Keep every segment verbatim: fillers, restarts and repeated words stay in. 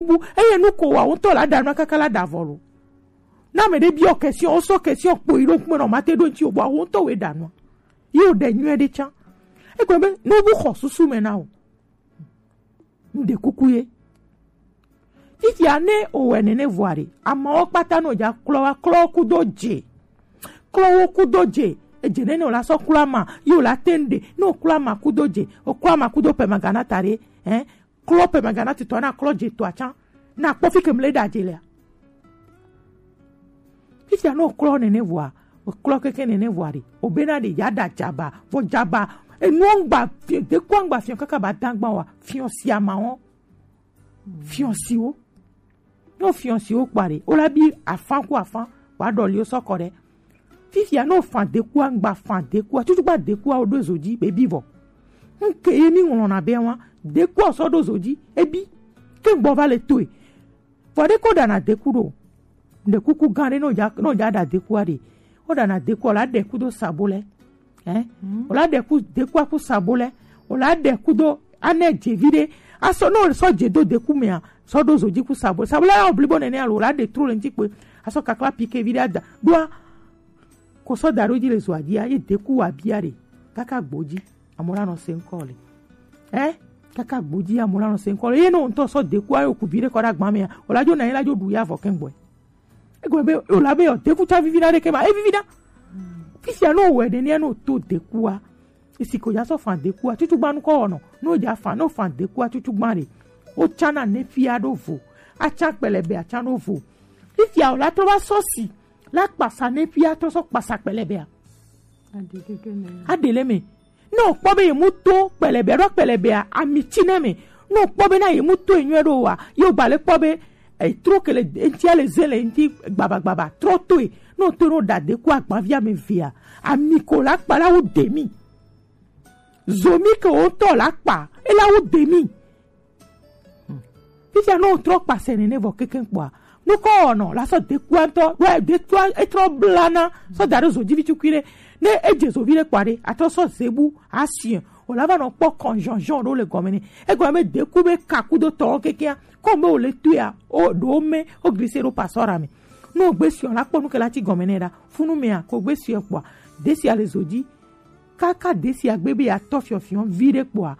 Bu eye nu ko wa wo ŋutɔ la ɖa nua kaka la ɖa vɔ lo. Na ame ɖe biɔ question, wo sɔ question kpo yi ɖo ŋkume nɔ mate ɖo ŋuti o, bɔ wo ŋutɔ wo ɖa nua. Ye wo ɖe nyuie ɖe tsã. Egbe be nu bu xɔ susu me na o. Ŋɖe kuku ye. Fifia ne owɛ nene vɔa ɖe, amawo kpata no dza klɔ wa klɔ kudo dze. Klɔ wo kudo dze. Edze nene o la sɔ klɔ ama, ye o la te ŋɖe. Ne o klɔ ama kudo dze, o klɔ ama kudo pɛ magana ta ɖe. Hein? Klɔ pɛ magana titɔ na klɔ dze to atsa. Na kpɔ fi ke mle da dze lea. Fifia no klɔ nene vɔa, o klɔ keke nene vɔa ɖe, o bena ɖe ya da dzaba, vɔ dzaba, enu ŋgba, fi-, deku ŋgba fiɔ kaka ba dangba wa, fiɔ si ama wo, fiɔ si wo. No fiɔ si wo kpa ɖe, o la bi afan ku afan, wa ɖɔ li o sɔ kɔ ɖe. Fifia no fan deku ŋgba fan deku, tutu gba deku o ɖo zo dzi, be bi vɔ. Nke ye mi ŋlɔ na be wa, deku sɔ ɖo zo dzi, e bi, ke ŋgbɔ va le toe. Vɔ ɖe ko ɖana deku ɖo. Ɖe kuku gã ɖe, ne wòdza, ne wòdza ɖa dekua ɖe. Woɖana dekua, wòla ɖe ku do sabo lɛ. Ɛ? Wòla ɖe ku, dekua ku sabo lɛ. Wòla ɖe ku do anɛ dze vi ɖe. Asɔ, ne wòsɔ dze do deku mea, sɔ ɖo zo dzi ku sabo. Sabo lɛ ya wò blibo nɛnɛ alo, wòla ɖe tro le ŋuti kpe. Asɔ kakla pike vi ɖe ada. Ɖoa, ko sɔ da ɖo dzi le zoa dzia, ye deku wa bia ɖe. Kaka gbo dzi. Amewo la nɔ se ŋkɔ le. Ɛ? Kaka gbo dzi amewo la nɔ se ŋkɔ le. Ye ne wo ŋutɔ sɔ dekua yo ku vi ɖe kɔ ɖe agba mea, wòla dzo na ye la dzo ɖu ya vɔ kɛŋgbɔe. Egɔme be wòla be yɔ deku tsa vivi na ɖeke ma, e vivi na. Fisia no wɛ ɖe ne no to dekua. Esi ko ya sɔ fan dekua, tutu gba nukɔ wɔnɔ. No ja fan, no fan dekua tutu gba ɖe. O tsana ne fia ɖo vo. Atsa kpɛlɛbɛ atsa ɖo vo. Fisia wòla trɔ va sɔ si. La kpasa ne fia trɔ sɔ kpasa kpɛlɛbɛa. Aɖe keke nɛ. Aɖe le me. Ne wòkpɔ be ye mu to kpɛlɛbɛa, ɖo kpɛlɛbɛa, ami tsi ne me. Ne wòkpɔ be na ye mu to enyuie ɖo wa, ye wògba le kpɔ be, eh, trɔ ke le ŋutia le ze le ŋuti gbabagbaba, trɔ toe. Ne wòto ne wòɖa deku agbavia me vea, ami ko la kpa la wo de mi. Zomi ke wòtɔ la kpa, e la wo de mi. Fifia ne wotrɔ kpasɛ nene vɔ kekeŋ kpɔa, nukɔ wɔnɔ la sɔ dekua ŋutɔ, ɖo dekua etrɔ blana sɔ da ɖe zodzivi tukui ɖe. Ne edze zovi ɖe kpɔa ɖe, atrɔ sɔ zebu asien, wòla va nɔ kpɔ kɔnjɔnjɔn ɖo le gɔme ne. Egɔme be deku be kaku do tɔwo kekea, kɔmi be wòle toea, o ɖewo me, o glise ɖo pasɔra me. Ne wògbe siɔ la kpɔ nuke la ti gɔme ne ɖa, funu mea, ko gbe siɔ kpɔa, desia le zodzi. Kaka desia gbe be ya tɔ fiɔfiɔ vi ɖe kpɔa,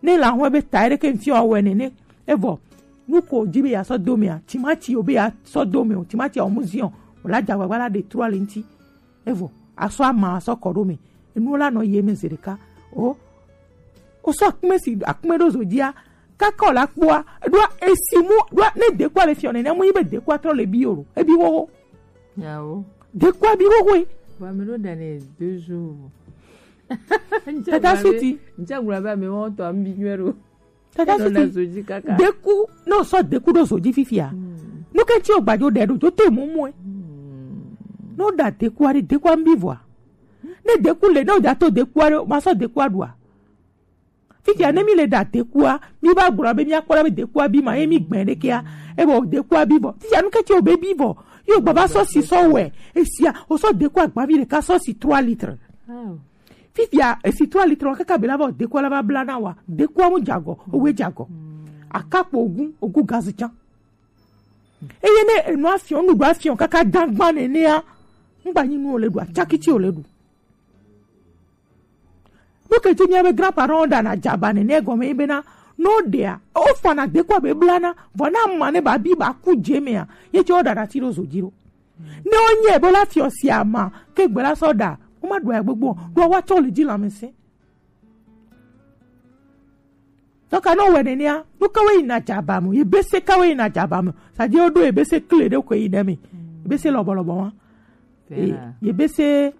ne la hɔn be ta ɖe ke ŋti wa wɛ nene. Evɔ, nu ko dzi be ya sɔ do mea, timati o be ya sɔ do me o, timati o mu ziɔ, o la dza gbagba la ɖe trɔ le ŋti. Evɔ, asɔ ama sɔ kɔ ɖo me. Enu la nɔ ye me ze ɖeka. O, o sɔ akume si, akume ɖo zo dzia, kaka o la kpɔa, ɖoa esi mu, ɖoa ne dekua le fiɔ nene, mu yi be dekua trɔ le bi o, ebi wowo. Yawo. Dekua bi wowo e. Wa mi ɖo da ne deux jours. Tata Suti. Nja gblɔ be ame wɔn tɔ ambi nyuie ɖo. Tata Suti. Deku, ne wosɔ deku ɖo zo dzi fifia. Nuke tsi wogba dzo ɖe ɖo dzo to mumu e. Ne woɖa dekua ɖe, dekua mbi vɔa. Ne deku le, ne woda to dekua ɖe, ma sɔ dekua ɖua. Fifia ne mi le ɖa dekua, mi va gblɔ be mi akpɔ ɖa be dekua bi ma ye mi gbɛ ɖekea, e bɔ dekua bi vɔ. Fifia nuke tsi wo be bi vɔ. Yo gbɔ va sɔ si sɔ wɛ. Esia, wosɔ dekua gbavi ɖeka sɔ si trois litres. Fifia, esi trois litres wa kaka be la va dekua la va bla na wa. Dekua mu jagɔ, owe jagɔ. Akakpo ogun, ogun gazi can. Eye ne enu afiɔ, nuɖuɖu afiɔ kaka dagba nenea, ŋgba nyi nu o le ɖu, atsaki tsi o le ɖu. Nuke tsi mia be grand parent ɖana dzaba nene gɔme ye bena, no ɖea, o fana dekua be blana, vɔ na ma ne ba bi ba ku dze mea, ye tsi o ɖana tsi ɖo zo dzi ɖo. Ne wonye be la fiɔ si ama, ke gbe la sɔ ɖa, wo ma ɖu ya gbogbo, ɖo wa tsɔ le dzi lãmesẽ. Tɔka ne wowɛ nenea, nu kawoe yina dzaba me? Yebese kawoe yina dzaba me? Sadi woɖo yebese kle ɖe koe yi ɖe me. Yebese lɔbɔlɔbɔ wa. Fena. E, yebese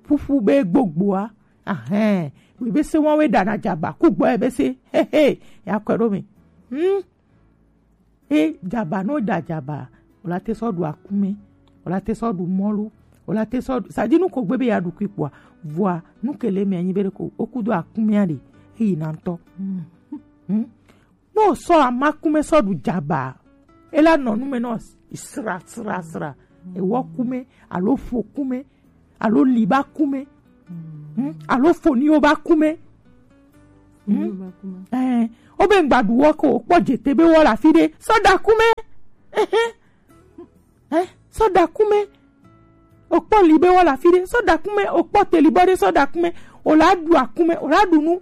ƒuƒu be gbogboa. Ahɛn. Yebese wawoe ɖana dzaba. Kugbɔ yebese. Hehe. Ya kɔe ɖo me. Hmm. E dzaba, ne woɖa dzaba, wòla te sɔ ɖu akume, wòla te sɔ ɖu mɔlu, wòla te sɔ ɖu, sadi nu ko gbe be ya ɖu kui kpɔa, vɔa nu ke le mea nyi be ɖeko woku do akumea ɖe, eyi na ŋutɔ. Hmm? Ne wosɔ amakume sɔ ɖu dzaba, ela nɔ nu me nɔ sra sra sra, ewɔ kume, alo ƒo kume, alo liba kume, hmm? Alo foniwo ba kume. Hmm? Eh, o be ŋgba ɖu wɔ ko, o kpɔ dze te be wɔ le afi ɖe, sɔ ɖa akume. Eh, sɔ ɖa akume. O kpɔ li be wɔ le afi ɖe, sɔ ɖa akume. O kpɔ teli bɔ ɖe, sɔ ɖa akume. O la ɖu akume, o la ɖu nu.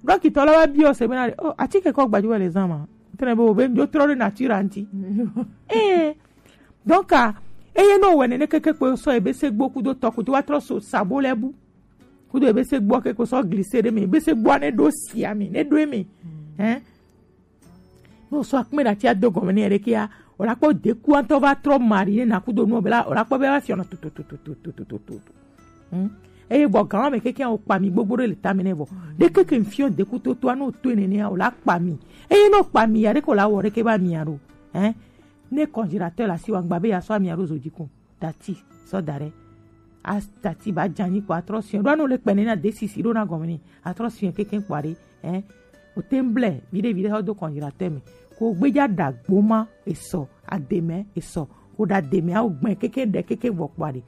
Dɔkitɔ la wa biɔ se be na ɖe, o, atike kɔ gbajuwe le zan ma. Tene be o be ŋdzo trɔ ɖe nature ŋti. Eh, donc, ah, eye no wɛ nene keke kpe sɔ ebe se gbo kudo tɔ kudo wa trɔ so sabo lɛ bu. Kudo ebe se gbo ke ko sɔ glise ɖe me, ebe se gbo ne ɖo sia me, ne ɖo eme. Hein? No sɔ akume ɖati ado gɔme ne ɖe kia, o la kpɔ deku antɔ va trɔ mari ne na kudo nu bela, o la kpɔ be va fiɔ na tutututututu. Hmm? Eye vɔ gan me keke o kpa mi gbogbo ɖe le tame ne vɔ. Ɖe keke fiɔ deku toto ano to nene o la kpa mi. Eye no kpa mi ya ɖe ko la wɔ ɖe ke ba mi aro. Hein? Ne congélateur la si wa ŋgba be ya sɔ ami aro zo dzi ko. Tati, sɔ da ɖe. A tati ba dza nyi kpɔ atrɔ siɔ. Ɖo anu le kpɛ ne na desisi ɖo na gɔme ni. Atrɔ siɔ keke kpɔ ɖe. Eh. O te ŋble, viɖe viɖe xɔ do congélateur me. Ko gbedza ɖa gboma esɔ, ademe esɔ. Ko ɖa deme awo gbɛ keke ɖe keke vɔ kpɔ ɖe.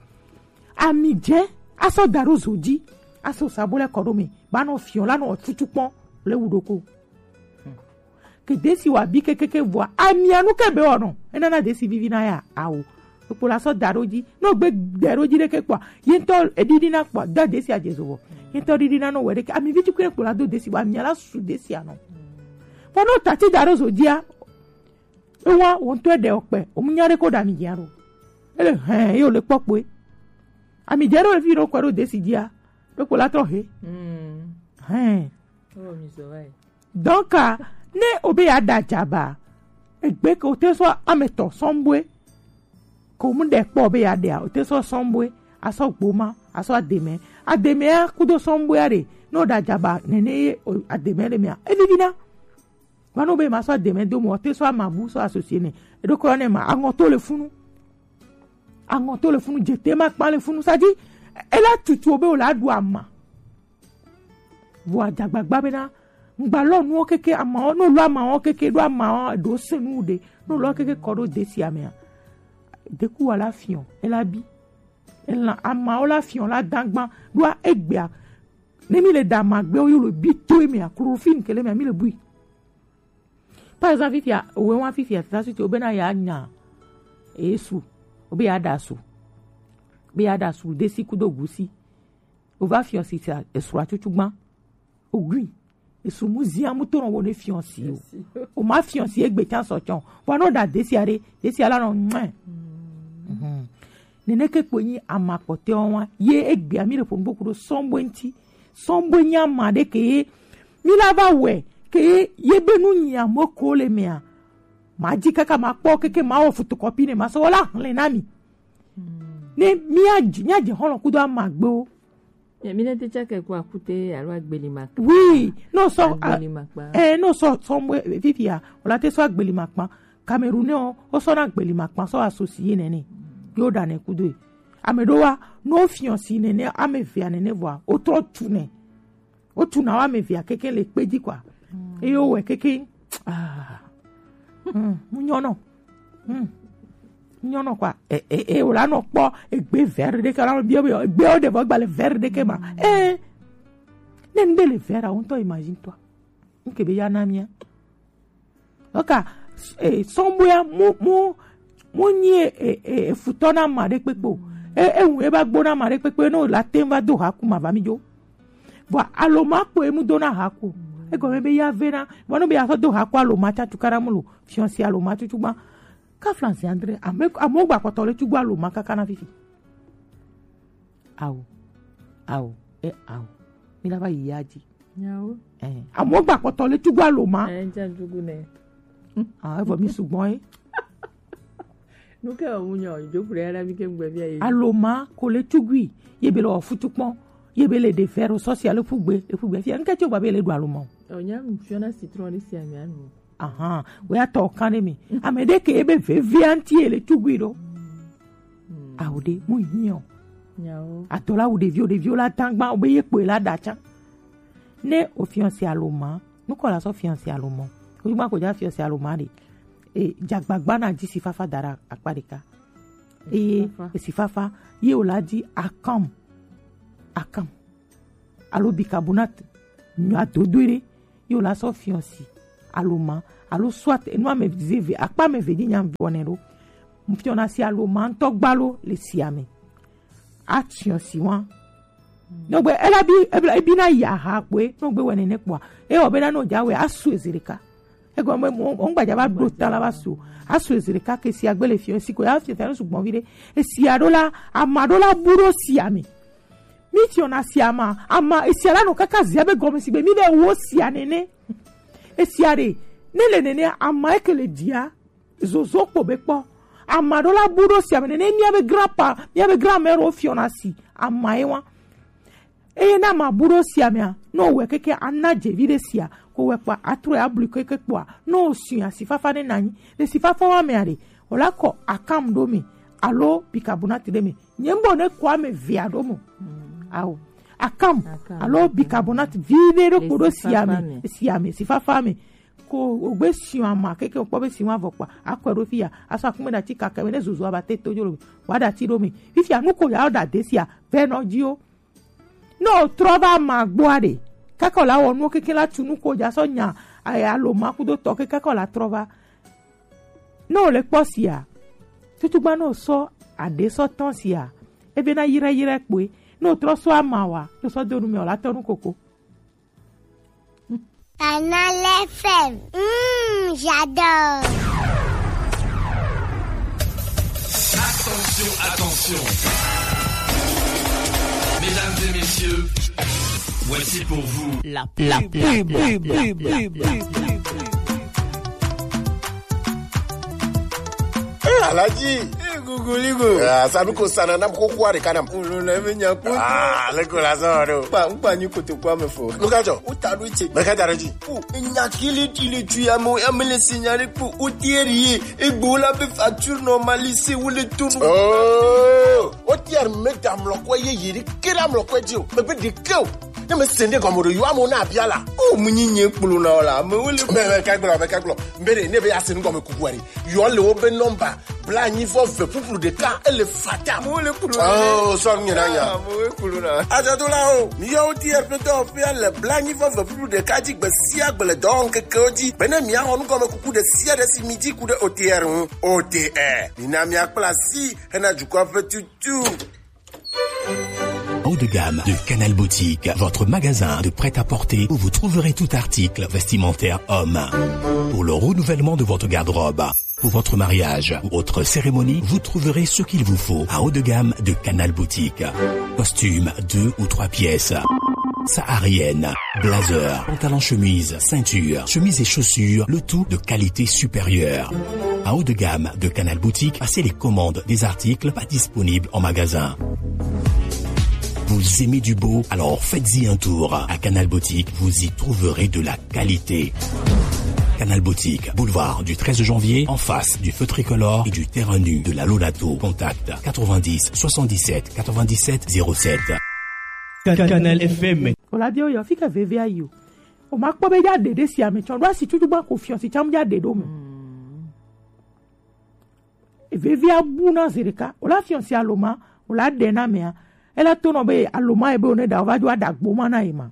Ami dze, asɔ da ɖo zo dzi. Asɔ sabo le kɔ ɖo me. Ba nɔ fiɔ la nɔ tutu kpɔ le wu ɖoko. Ke desi wa bi kekeke vɔa, amia nu ke be wɔnɔ. Enana desi vivi na ya, awo. Kpo la sɔ da ɖo dzi. No gbe de ɖo dzi ɖeke kpɔa, ye ŋutɔ eɖiɖi na kpɔa, da desi adze zo vɔ. Ye ŋutɔ ɖiɖi na no wɛ ɖeke. Ami vi tukui kpo la do desi vɔ, amia la su desi anɔ. Vɔ no tati da ɖo zo dzia, ewa, wo ŋutɔ ɖe okpe, o mu nya ɖe ko ɖa mi dzia ɖo. Ele hɛn, ye o le kpɔ kpoe. Ami dze ɖo evi ɖo kɔ ɖo desi dzia, ɖo kpo la trɔ he. Hɛn. Oh, mi so vai. Donc, ah, ne o be ya da dza ba, egbe ke o te sɔ ame tɔ sɔnbue, ko mu ɖe kpɔ o be ya ɖea, o te sɔ sɔnbue, asɔ gboma, asɔ ademe. Ademe ya kudo sɔnbue ya ɖe, ne o da dza ba, nene ye o ademe le mea, evivi na. Wa no be ma sɔ ademe do mo, o te sɔ amabu, sɔ associé ne. Eɖo kɔ ne ma, aŋɔ to le funu. Aŋɔ to le funu, dze te ma kpa le funu, sa dzi, ela tutu o be o la ɖu ama. Vɔ adzagbagba bena, ŋgba lɔ nuwo keke amawo, no lɔ amawo keke, ɖo amawo, ɖo se nu ɖe, no lɔ keke kɔ ɖo desi amea. Deku wa la fiɔ, ela bi. Ela amawo la fiɔ, la dagba, ɖo egbea. Ne mi le da amagbewo, yo le bi to emea, chloroforme ke le mea, mi le bui. Par exemple, fifia, owe wa fifia, tata suite, o be na ya nya, esu, o be ya da su, o be ya da su, desi kudo gusi. O va fiɔ si sa, esua tutu gban. O gui. Esu mu zia mu to no wo ne fiɔ si o. O ma fiɔ si egbe can sɔ cɔn. Wa no da desi are, desi ala no mɛ. Nene ke kpo nyi ama kpɔtɛ wa, ye egbe ami le ponugbo kudo sɔnbue ŋti. Sɔnbue nyi ama ɖe ke ye, mi la va wɛ, ke ye, ye be nu nyi amo ko le mea. Ma dzi kaka ma kpɔ keke ma wɔ photocopie ne ma sɔ wɔ la hlẽ na mi. Ne mi a dzi, mi a dzi xɔlɔ kudo amagbewo. Ye mi ne te tsake ku akute alo agbeli ma. Oui, no sɔ, a-, agbeli ma kpa. Eh, no sɔ, sɔnbue, fifia, o la te sɔ agbeli ma kpa. Camerounais o, o sɔ na agbeli ma kpa, sɔ associé nene. Yo da ne kudo. Ame ɖo wa, no fiɔ si nene, ame vea nene vɔa, o trɔ tu ne. O tu na wa ame vea keke le kpe dzi kpɔa. Eye o wɛ keke, ah. Hmm, mu nyɔ nɔ. Hmm. Nyɔnɔ kpɔa, e, e, e, o la nɔ kpɔ egbe vɛr ɖe ke la biɔ biɔ egbe o de vɔ gba le vɛr ɖe ke ma. Eh, ne ŋde le vɛr a, o ŋutɔ imagine toi. Nke be ya na mia. Oka, eh, sɔnbɔya mu, mu, mu nyi, eh, eh, eh, futɔ na ma ɖe kpekpe o. Eh, eh, ŋu e ba gbo na ma ɖe kpekpe, no la tem va do ha ku ma va mi jo. Vɔ aloma kpo emu do na ha ku. Egɔme be ya ve na, vɔ no be ya sɔ do ha ku aloma tsa tu kana mu lo, fiɔnsi aloma tutu gba. Ka flansi andre, ame, amewo gba kpɔtɔ le tugbo aloma kaka na fifi. Awo, awo, e awo. Mi na va yi ya dzi. Nyawo. Eh, amewo gba kpɔtɔ le tugbo aloma. Eh, ŋtsa tugu ne. Ah, evɔ mi sugbɔ ye. Nu ke o mu nyɔ, jo kure ya la mi ke ŋgbe bia ye. Aloma ko le tugui, ye be le wɔ futu kpɔn, ye be le de fɛro sɔsi alo fugbe, le fugbe fia. Ŋke tso gba be le ɖu aloma o. O nya mi fiɔ na citron ɖe sia mi anu. Ahan, wo ya tɔ kan ɖe mi. Ame ɖe ke ebe veve anti ele tugui ɖo. Awo ɖe, mu hiɔ. Nyawo. Adɔ la wu ɖeviwo, ɖeviwo la tangba, o be ye kpoe la ɖa tsa. Ne o fiɔnsi aloma, nukɔ la sɔ fiɔnsi aloma. O yuma ko ja fiɔnsi aloma ɖe. E, dzagbagba na dzi si fafa da ɖe akpa ɖeka. Eye, esi fafa, ye o la di akam. Akam. Alo bicarbonate, nyɔ adodoe ɖe, Yo la sɔ fiɔsi aloma alo soit enu ame ze ve akpa ame ve dzi nya vɔ ne ɖo. Fiɔna si aloma ŋutɔ gbalo le sia me. Atsiɔ si wa. Nɔgbe ela bi ebla ebi na ya ha kwe nɔgbe wɛ nene kpɔa. E wɔ be na no ja wɛ asu ezirika. Ego me mo ngbaja ba do ta la ba su. Asu ezirika ke si agbele fiɔ si ko ya fiɔ fiɔ su gbɔn vi de. E si aɖo la ama ɖo la bu ɖo sia me. Mi tiɔna sia ma ama esia la nɔ kaka zia be gɔme si be mi be wo sia nene. Esia ɖe ne le nene ama eke le dia zozo kpo be kpɔ. Ama ɖo la bu ɖo sia me nene mia be grandpa mia be grand-mère wo fiɔna si ama ye wa. Eye na ma bu ɖo sia mea no wɛ keke ana dzevi ɖe sia ko wɛ kpa atrɔ ya blu keke kpɔa no o si asi fafa ne nanyi le si fafa wa mea ɖe o la kɔ akam ɖo me alo bicarbonate ɖe me. Nye ŋgɔ ne kɔ ame vea ɖo mo. Ao. Akam. Akam. Alo bicarbonate vi ɖe ɖo kpo ɖo sia me. Sia me si fafa me. Ko ogbe siɔ ama keke okpɔ be siɔ avɔ kpa akɔe ɖo fia aso akume ɖati kaka me ne zozo aba te to dzro me wa ɖati ɖo me fifia nu ko ya ɖa de sia vɛ nɔ dzi o. Ne o trɔ va ama gbɔa ɖe kaka o la wɔ nuwo keke la tu nu ko dza sɔ nya aya lo ma kudo tɔ ke kaka o la trɔ va. Ne o le kpɔ sia tutugba ne o sɔ aɖe sɔ tɔn sia ebe na yirɛ yirɛ kpoe ne o trɔ sɔ ama wa ne o sɔ do nu me o la tɔ nu koko. Canal F M. Mmh, j'adore. Attention, attention. Mesdames et messieurs, voici pour vous la, la pub. Eh, Alhaji. Eh, Gogoligo. Ah, sanu ko sana nam ko kuare kanam. Olo na me nya ko. Ah, le ko la so do. Pa, pa ni ko to kwa me fo. Lo ka jo. O ta do che. Me ka jara ji. Kpo enya kele ti le tu ya mo ya me le signale kpo O T R ye egbo la be facture normalisée wo le tonu. Oh, O T R me da mlɔ kɔ ye ye ri ke da mlɔ kɔ ji o. Me be de ke o. Ne me sende gɔme ɖo yo amo na abia la. O mu nyi nye kplo na o la. Me wo le. Me, me ka gblɔ, me ka gblɔ. Me de ne be ya se nu gɔme kuku ari. Yɔ le wo be nɔmba blanyi vɔ ve ƒuƒlu ɖeka ele fata. Mo le kulu. Oh, sɔ nu nyina nya. Ah, mo le kulu na. Ajadolawo, mi yɔ O T R ƒe dɔwɔƒea le blanyi vɔ ve ƒuƒlu ɖeka dzi gbe sia gbe le dɔwɔŋkekewo dzi. Bene miaxɔ nugɔmekuku ɖe sia ɖe si mi dzi ku ɖe O T R ŋu. O T R, mina miakpla asi hena dukɔa ƒe tutu. Haut de gamme de Canal Boutique, votre magasin de prêt-à-porter où vous trouverez tout article vestimentaire homme. Pour le renouvellement de votre garde-robe, pour votre mariage ou autre cérémonie, vous trouverez ce qu'il vous faut à haut de gamme de Canal Boutique. Costume deux ou trois pièces, saharienne, blazer, pantalon chemise, ceinture, chemise et chaussures, le tout de qualité supérieure. À haut de gamme de Canal Boutique, passez les commandes des articles pas disponibles en magasin. Vous aimez du beau ? Alors faites-y un tour. À Canal Boutique, vous y trouverez de la qualité. Canal Boutique, boulevard du treize janvier, en face du feu tricolore et du terrain nu de la Lolato. Contact quatre-vingt-dix soixante-dix-sept quatre-vingt-dix-sept zéro sept. Canal F M. Ola bio yo fika veve ayo. O ma kpɔ be ya ɖe ɖe sia me tsɔ ɖo asi tutu gba ko fiɔ si tsam ya ɖe ɖo me. Vevia bu na zi ɖeka o la fiɔ si aloma o la ɖe na mea ela to nɔ be aloma ye be o ne ɖa o va dzo aɖa gbo ma na ye ma.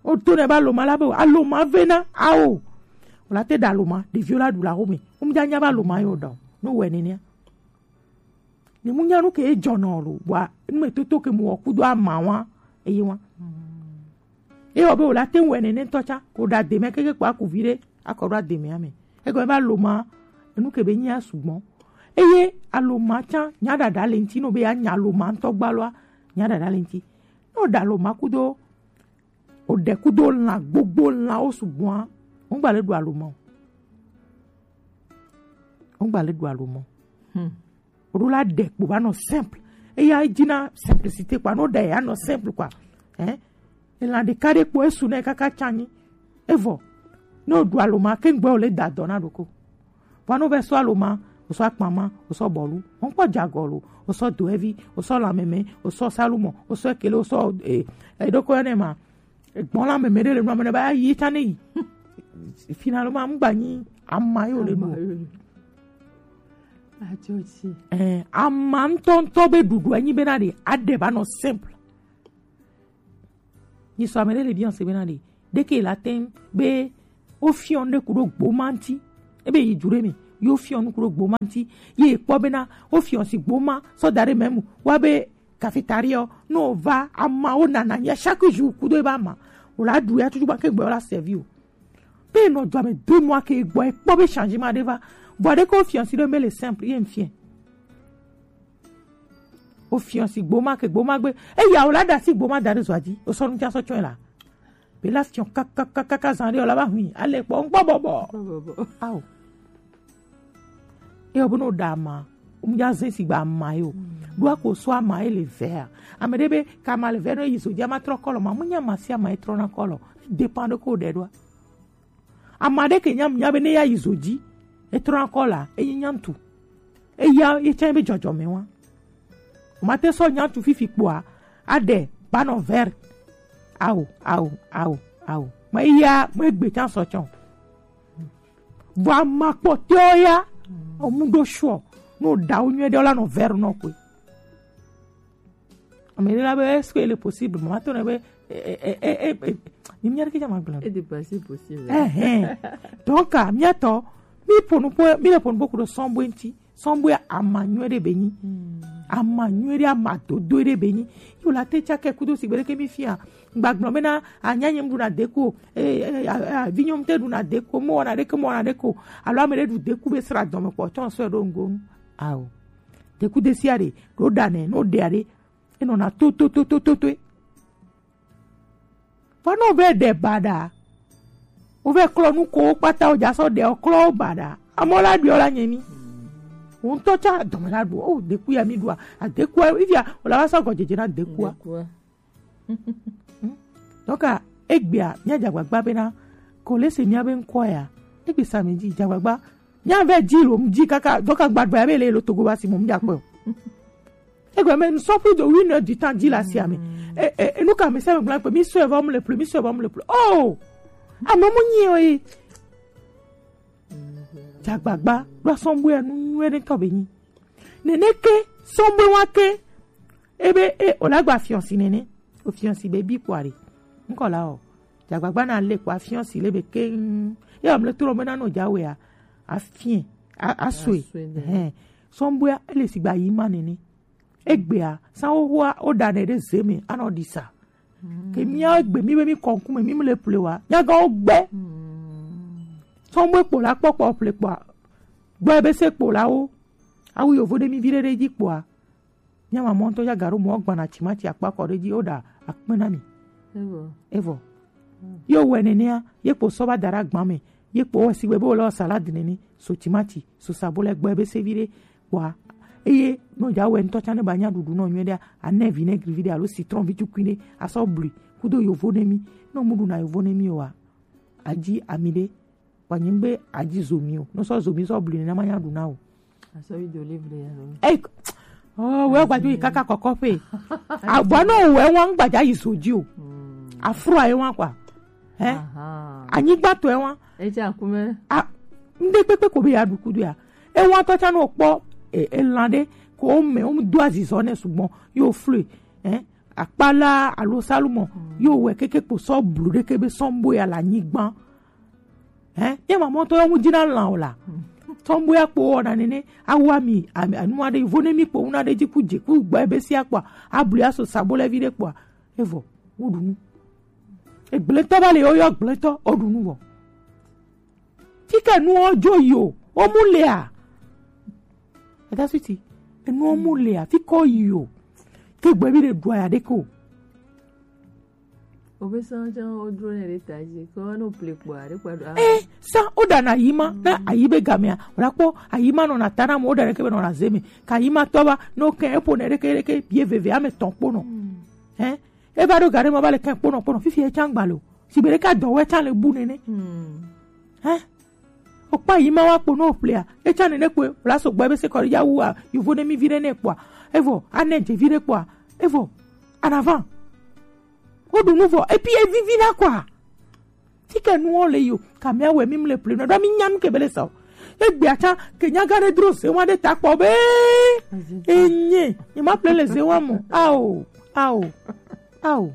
O to nɛ be aloma la be aloma ve na awo o la te ɖa aloma ɖeviwo la ɖu la xo me o mu dza nya be aloma ye o ɖa o no wɛ nenea. Ni mu nya nu ke ye dzɔna o lo bua nu me toto ke mu wɔ kudo ama wa eye wa. Eye wɔ be wòle ate ŋu wɔe nene ŋutɔ tsã, ko ɖe ademea keke kpo aku viɖe akɔ ɖo ademea me. Egɔme be aloma, enu ke be nyia sugbɔ. Eye aloma tsã, nya ɖaɖa le ŋuti nɔ be yeanya aloma ŋutɔ gbaloa, nya ɖaɖa le ŋuti. Ne wòɖe aloma kudo, wòɖe kudo lã gbogbo lãwo sugbɔa, wogba le ɖu aloma o. Wogba le ɖu aloma o. Hmm. Woɖo la ɖe kpo va nɔ simple. Eya edzi na simplicité kpa. Ne woɖe ya nɔ simple kpa. Hein? Elã ɖeka ɖe kpo esu nɛ kaka tsanyi. Evɔ. Ne woɖu aloma ke ŋgbɛ wòle da dɔ na ɖoko. Vɔ ne wovɛ sɔ aloma, wosɔ akpama, wosɔ bɔlu, wọn kpɔ jagɔ lo, wosɔ doɛvi, wosɔ lamɛmɛ, wosɔ salumɔ, wosɔ ekele, wosɔ eh, eɖoko yɔ nɛ ma. Egbɔn la mɛmɛ ɖe le nua me ne ba yi ta ne yi. Finalement, ŋgba nyi ama yo le ɖu. Atsotsi. Eh, ama ŋutɔŋutɔ be ɖuɖu enyi bena ɖe aɖe ba nɔ simple. Nyi sɔ ame ɖe le bianse bena ɖe Ɖeke la tɛn be wofiɔ nu ɖe ku ɖo gboma ŋuti. Ebe yi du ɖe mi, ye wofiɔ nu ku ɖo gboma ŋuti. Ye kpɔ bena wofiɔ si gboma sɔ da ɖe mɛ mu. Wa be cafétéria ɔ, ne wova amawo nana ya chaque jour ku ɖo ebe ama. Wo la ɖu ya tutu gba ke gbɛ wo la servi o. Pe nɔ dua me deux mois ke gbɔ e kpɔ be changement ɖe va. Vɔ ɖeke wofiɔ si ɖo me le simple ye ŋfiɛ. Wofiɔ si gboma ke gboma gbe. Eya wo la da si gboma da ɖe zɔa dzi. Wo sɔ nu ca sɔ tsɔe la. Be la fiɔ kakakaka zan ɖe o la va hui. Ale kpɔ ŋkpɔ bɔbɔ. Ao. Eye wo be no ɖa ama. Ŋdza ze si gba ama ye o. Ɖo ako so ama ye le vea. Ame ɖe be ka ama le vea no yi zo dzi ama trɔ kɔlɔ ma. Mu nya ama si ama ye trɔ na kɔlɔ. Dépend ɖe ko ɖe ɖoa. Ama ɖe ke nya nya be ne ya yi zo dzi. E trɔ na kɔlɔ. Eyi nya ŋtu. Eya ye tsã be dzɔdzɔme wa. Mate sɔ nya tu fifi kpoa, aɖe banɔ ver. Ao, ao, ao, ao. Me ya, me gbe tsã sɔ tsɔ. Vɔ ama kpɔtɔ ya, omu ɖo shuɔ. No ɖawo nyuie ɖe la nɔ ver nɔ koe. Ame ɖe la be, est-ce que il est possible? Mama tɔ ne be, eh, eh, eh, eh, eh, eh, ni mia ɖe ke dza ma gblɔ. Et de passer possible. Eh, eh. Donc, ah, mia tɔ, mi ƒo nu ƒo, mi le ƒo nu ƒo ku ɖo sɔn bo ŋuti. Sɔn bo ama nyuie ɖe be nyi. Ama nyuie ɖe, ama dodo ɖe be nyi. Yo la te tsa ke kudo si gbe ɖe ke mi fia. Gba gblɔ be na, anya nye mu ɖuna deku o. Eh, eh, eh, eh, vi nyɔnu te ɖuna deku o. Mo wɔna ɖeke, mo wɔna ɖeke o. Alo ame ɖe ɖu deku be sra dɔme kpɔ, tsɔ sɔe ɖo ŋgo nu. Ao. Deku de sia ɖe, ɖo ɖa nɛ, no ɖea ɖe. Enɔna to, to, to, to, to, toe. Vɔ ne wovɛ ɖe baɖa, wovɛ klɔ nu ko kpata wodza sɔ ɖe klɔ wo baɖa. Amewo la ɖuɔ la nye mi. Wo ŋutɔ tsa dɔme la ɖu. O, deku ya mi ɖua. Adekua, ifia, wòle va sɔ gɔdzedze na dekua. Dekua. Donc, ah, egbea, mia dza agbagba bena, ko le se mia be ŋkɔ ya. Egbe sa mi dzi, dza agbagba. Mia vɛ dzi lo, dzi kaka, donc agbagba ya be le lo togo ba si mo, mia kpɔ. Egbe me, nous sommes plus de une heure du temps, dzi la si ame. E, e, e, nu ka me se me gblɔ kpe, mi sɔ evɔ mu le plus, mi sɔ evɔ mu le plus. Oh! Ame mu nyi o yi. Dza agbagba, ɖo asɔn bu ya nu nyuie ɖe tɔ be nyi. Nene ke, sɔn bu wa ke, Ebe e o la gba fiɔsi nene. O fiɔsi be bi kpɔ are. Ŋkɔ la o. Dzagbagba na le kpɔ afiɔsi le be keŋ. Ye amle trɔ be na no dza wea. Afie. A, asue. Asue ne. Hɛn. Sɔnbɔya ele sigba yi ma nene. Egbea, san wo hoa, wo da ne ɖe ze me, anɔ ɖi sa. Ke mía gbe mi be mi kɔ ŋkume, mi mle ple wa. Mía gã wo gbe. Sɔnbɔya kpɔ la kpɔkpɔ ple kpɔa. Gbɔ ebe se kpɔ la wo. Awu yovo ɖe mi vi ɖe ɖe dzi kpɔa. Mía mamɔ ŋutɔ ya gaɖo mɔ gbana timati akpa kɔ ɖe dzi, woɖa akpe na mi. Evɔ. Evɔ. Ye wɛ nenea, ye kpo sɔ va da ɖe agba me, ye kpo wɛ sigbe be wòle wɔ salade nene, so timati, so sabolo, egbe be sevi ɖe kpɔa. Eye ne wòdza wɛ ŋutɔ tsã ne ba nya ɖuɖu nɔ nyuie ɖea, anɛ vinaigre vi ɖe alo citron vi tukui ɖe, asɔ blui, kudo yovo ne mi. Ne mu ɖuna yovo ne mi oa, adzi ami ɖe, Kpa nyi be adzi zomi o. No sɔ zomi sɔ bli nena ma nya ɖu na o. Asɔ wi do livre ya lo. Ei, oh, wɛ gba ju yi kaka kɔkɔ ƒe. Avɔ no wɛ wa ŋgba dza yi zo dzi o. Afro ayi wa kwa. Hein? Anyigba tɔ wa. Etsa kume. A, ŋde kpekpe ko be ya ɖu kudo ya. E wa tɔ tsa no kpɔ, e, e lan ɖe ko me, o do azizɔ ne sugbɔ. Yo flui. Hein? Akpala alo salumɔ. Yo wɛ keke kpo sɔ blu ɖe ke be sɔnbɔya le anyigba. Hein? Ye mamɔ tɔ yɔ mu dzi na lan o la. Sɔnbɔya kpo wɔna nene. Awa mi, ami, anu aɖe, vo ne mi kpo wuna ɖe dzi ku dze, ku gba ebe sia kpɔa. Ablu ya so sabo le vi ɖe kpɔa. Evɔ, wo ɖu nu. Egblẽtɔ va le, woyɔ gblẽtɔ, o ɖu nu vɔ. Fi ke nuwo dzo yi o, wo mu lea. Eta suti, enuwo mu lea, fi ke wo yi o. Ke gbe bi ɖe ɖua ya ɖe ke o. Obe sɔn tsã wo dro ne ɖe ta dzi, ke wo no ple kpɔ aɖe kpa ɖo. Eh, sa wo ɖana ayi ma, na ayi be gamea, wòla kpɔ ayi ma nɔna ta na mo, wo ɖana ke be nɔna ze me. Ka ayi ma tɔ va, no ke eƒo ne ɖeke ɖeke, bie veve ame tɔn kpo nɔ. Eh, e va ɖo ga ɖe me va le kɛ kponɔ kponɔ, fifi etsã gba lo. Sigbe ɖeka dɔ wɛ tsã le bu nene. Hein? Okpa yi ma wa kpo no ƒlea. Etsã nene kpoe, la so gbɔ ebe se kɔ ya wu a, yovo ne mi vi ɖe ne kpɔa. Evɔ, ane dze vi ɖe kpɔa. Evɔ, anava. Wo ɖu nu vɔ, epi evivi na kɔa. Fi ke nuwo le yo, ka mía wɛ mi mle ple nɔ, ɖo mi nya nu ke be le sa o. Egbea tsã, ke nya gã ɖe dro ze wa ɖe ta kpɔ be, enye, ye ma ple le ze wa mo. Ao, ao, ao.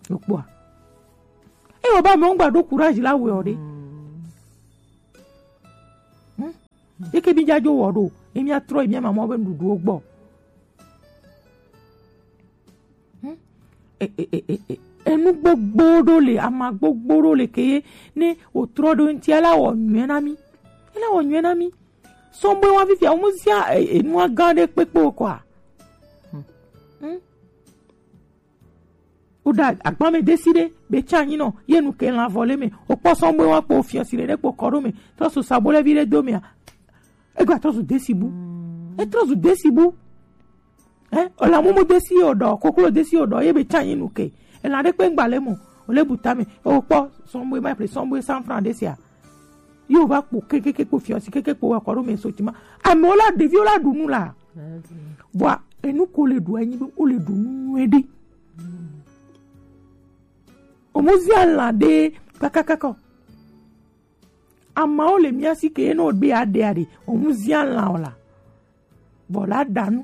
Okpɔa. Eo ba me ŋgba ɖo courage la wɛ o ɖe. Hmm. Eke mi dza dzo wɔ ɖo, emi atrɔ emi ama mɔ be nuɖuɖuwo gbɔ. Hmm? E, e, e, e, e. Enu gbogbo ɖo le, ama gbogbo ɖo le ke ye, ne wòtrɔ ɖo ŋuti, ela wɔ nyuie na mi. Ela wɔ nyuie na mi. Sɔgbe wa fifia, wo mu zia, e, enua gã ɖe kpekpe o kɔa. Hmm? Woɖa agba me desi ɖe, be tsa anyi nɔ, ye nu ke lã vɔ le me. Wokpɔ sɔgbe wa kpo fiɔsi ɖe kpo kɔ ɖo me. Trɔ su sabolɛ vi ɖe do mea. Egba trɔ zu desi bu. Etrɔ zu desi bu. Eh, ola mumu desi o ɖɔ, koklo desi o ɖɔ, ye be tsa anyi nu ke. Ela ɖe kpe ŋgba le mo, o le bu tame, o kpɔ sɔgbe ma ple sɔgbe cent francs desi a. Yo va kpo kekeke kpo fiɔsi keke kpo wa kɔ ɖo me so tima. Amewo la, ɖeviwo la ɖu nu la. Vɔa, enu ko le ɖu anyi be, o le ɖu nu nyuie ɖe. O mu zia lã ɖe kakakaka o. Amawo le mia si ke ye no be aɖe aɖe, o mu zia lã o la. Vɔ la ɖa nu.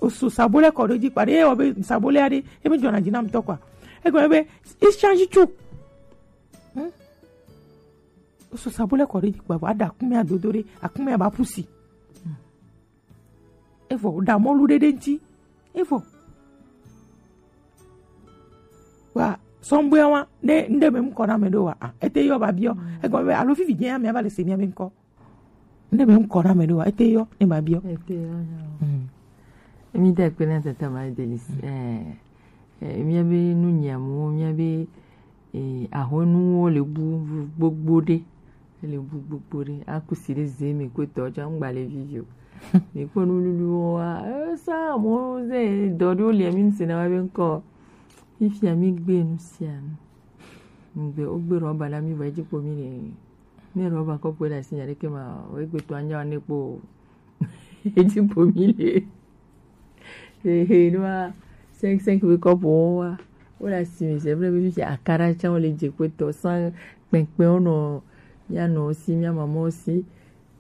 O so sabolɛ kɔ ɖe dzi kpa ɖe, ye wɔ be sabolɛ aɖe, ye me dzɔna dzi na ŋutɔ kɔa. Egɔme be, e change tso. Hmm? O so sabolɛ kɔ ɖe dzi kpa, vɔ aɖa akumea dodo ɖe, akumea ba pusi. Hmm. Evɔ, ɖa mɔlu ɖe ɖe ŋuti. Evɔ. Wa, sɔgbe wa, ne, ŋɖe me ŋkɔ na me ɖo wa, a, ete yɔ ba biɔ. Mm. Egɔme be, alo fifi dze ya me ava le se mia be ŋkɔ. Ŋɖe me ŋkɔ na me ɖo wa, ete yɔ, ne ba biɔ. Ete yɔ, yɔ. Mm. Mi de kpe na tata ma Delis. Mm. Eh, eh, mia be nu nyamu, mia be, eh, ahɔnuwo le bu, bu gbogbo ɖe. Ele bu gbogbo ɖe. Akusi ɖe ze me kpetɔ tsã ŋgba le vivi o. Mi kpɔ nululuwo wa, eh, sa mo ze dɔ ɖewo le mi se na wa be ŋkɔ. Fifia mi gbe nu sia nu. Ŋgbe, wogbe rɔba na mi vɔ edzi kpo mi le. Ne rɔba kɔpu le asi nya ɖeke ma, wo egbe to anya ne kpo o. Edzi kpo mi le. Ehe, nua, cinq, cinq be kɔpu wo wa. Wo le asi me, c'est vrai, be fifia akara tsã wo le dze kpetɔ, sans kpɛnkpɛn wo nɔ, mia nɔ si, mia mama wo si.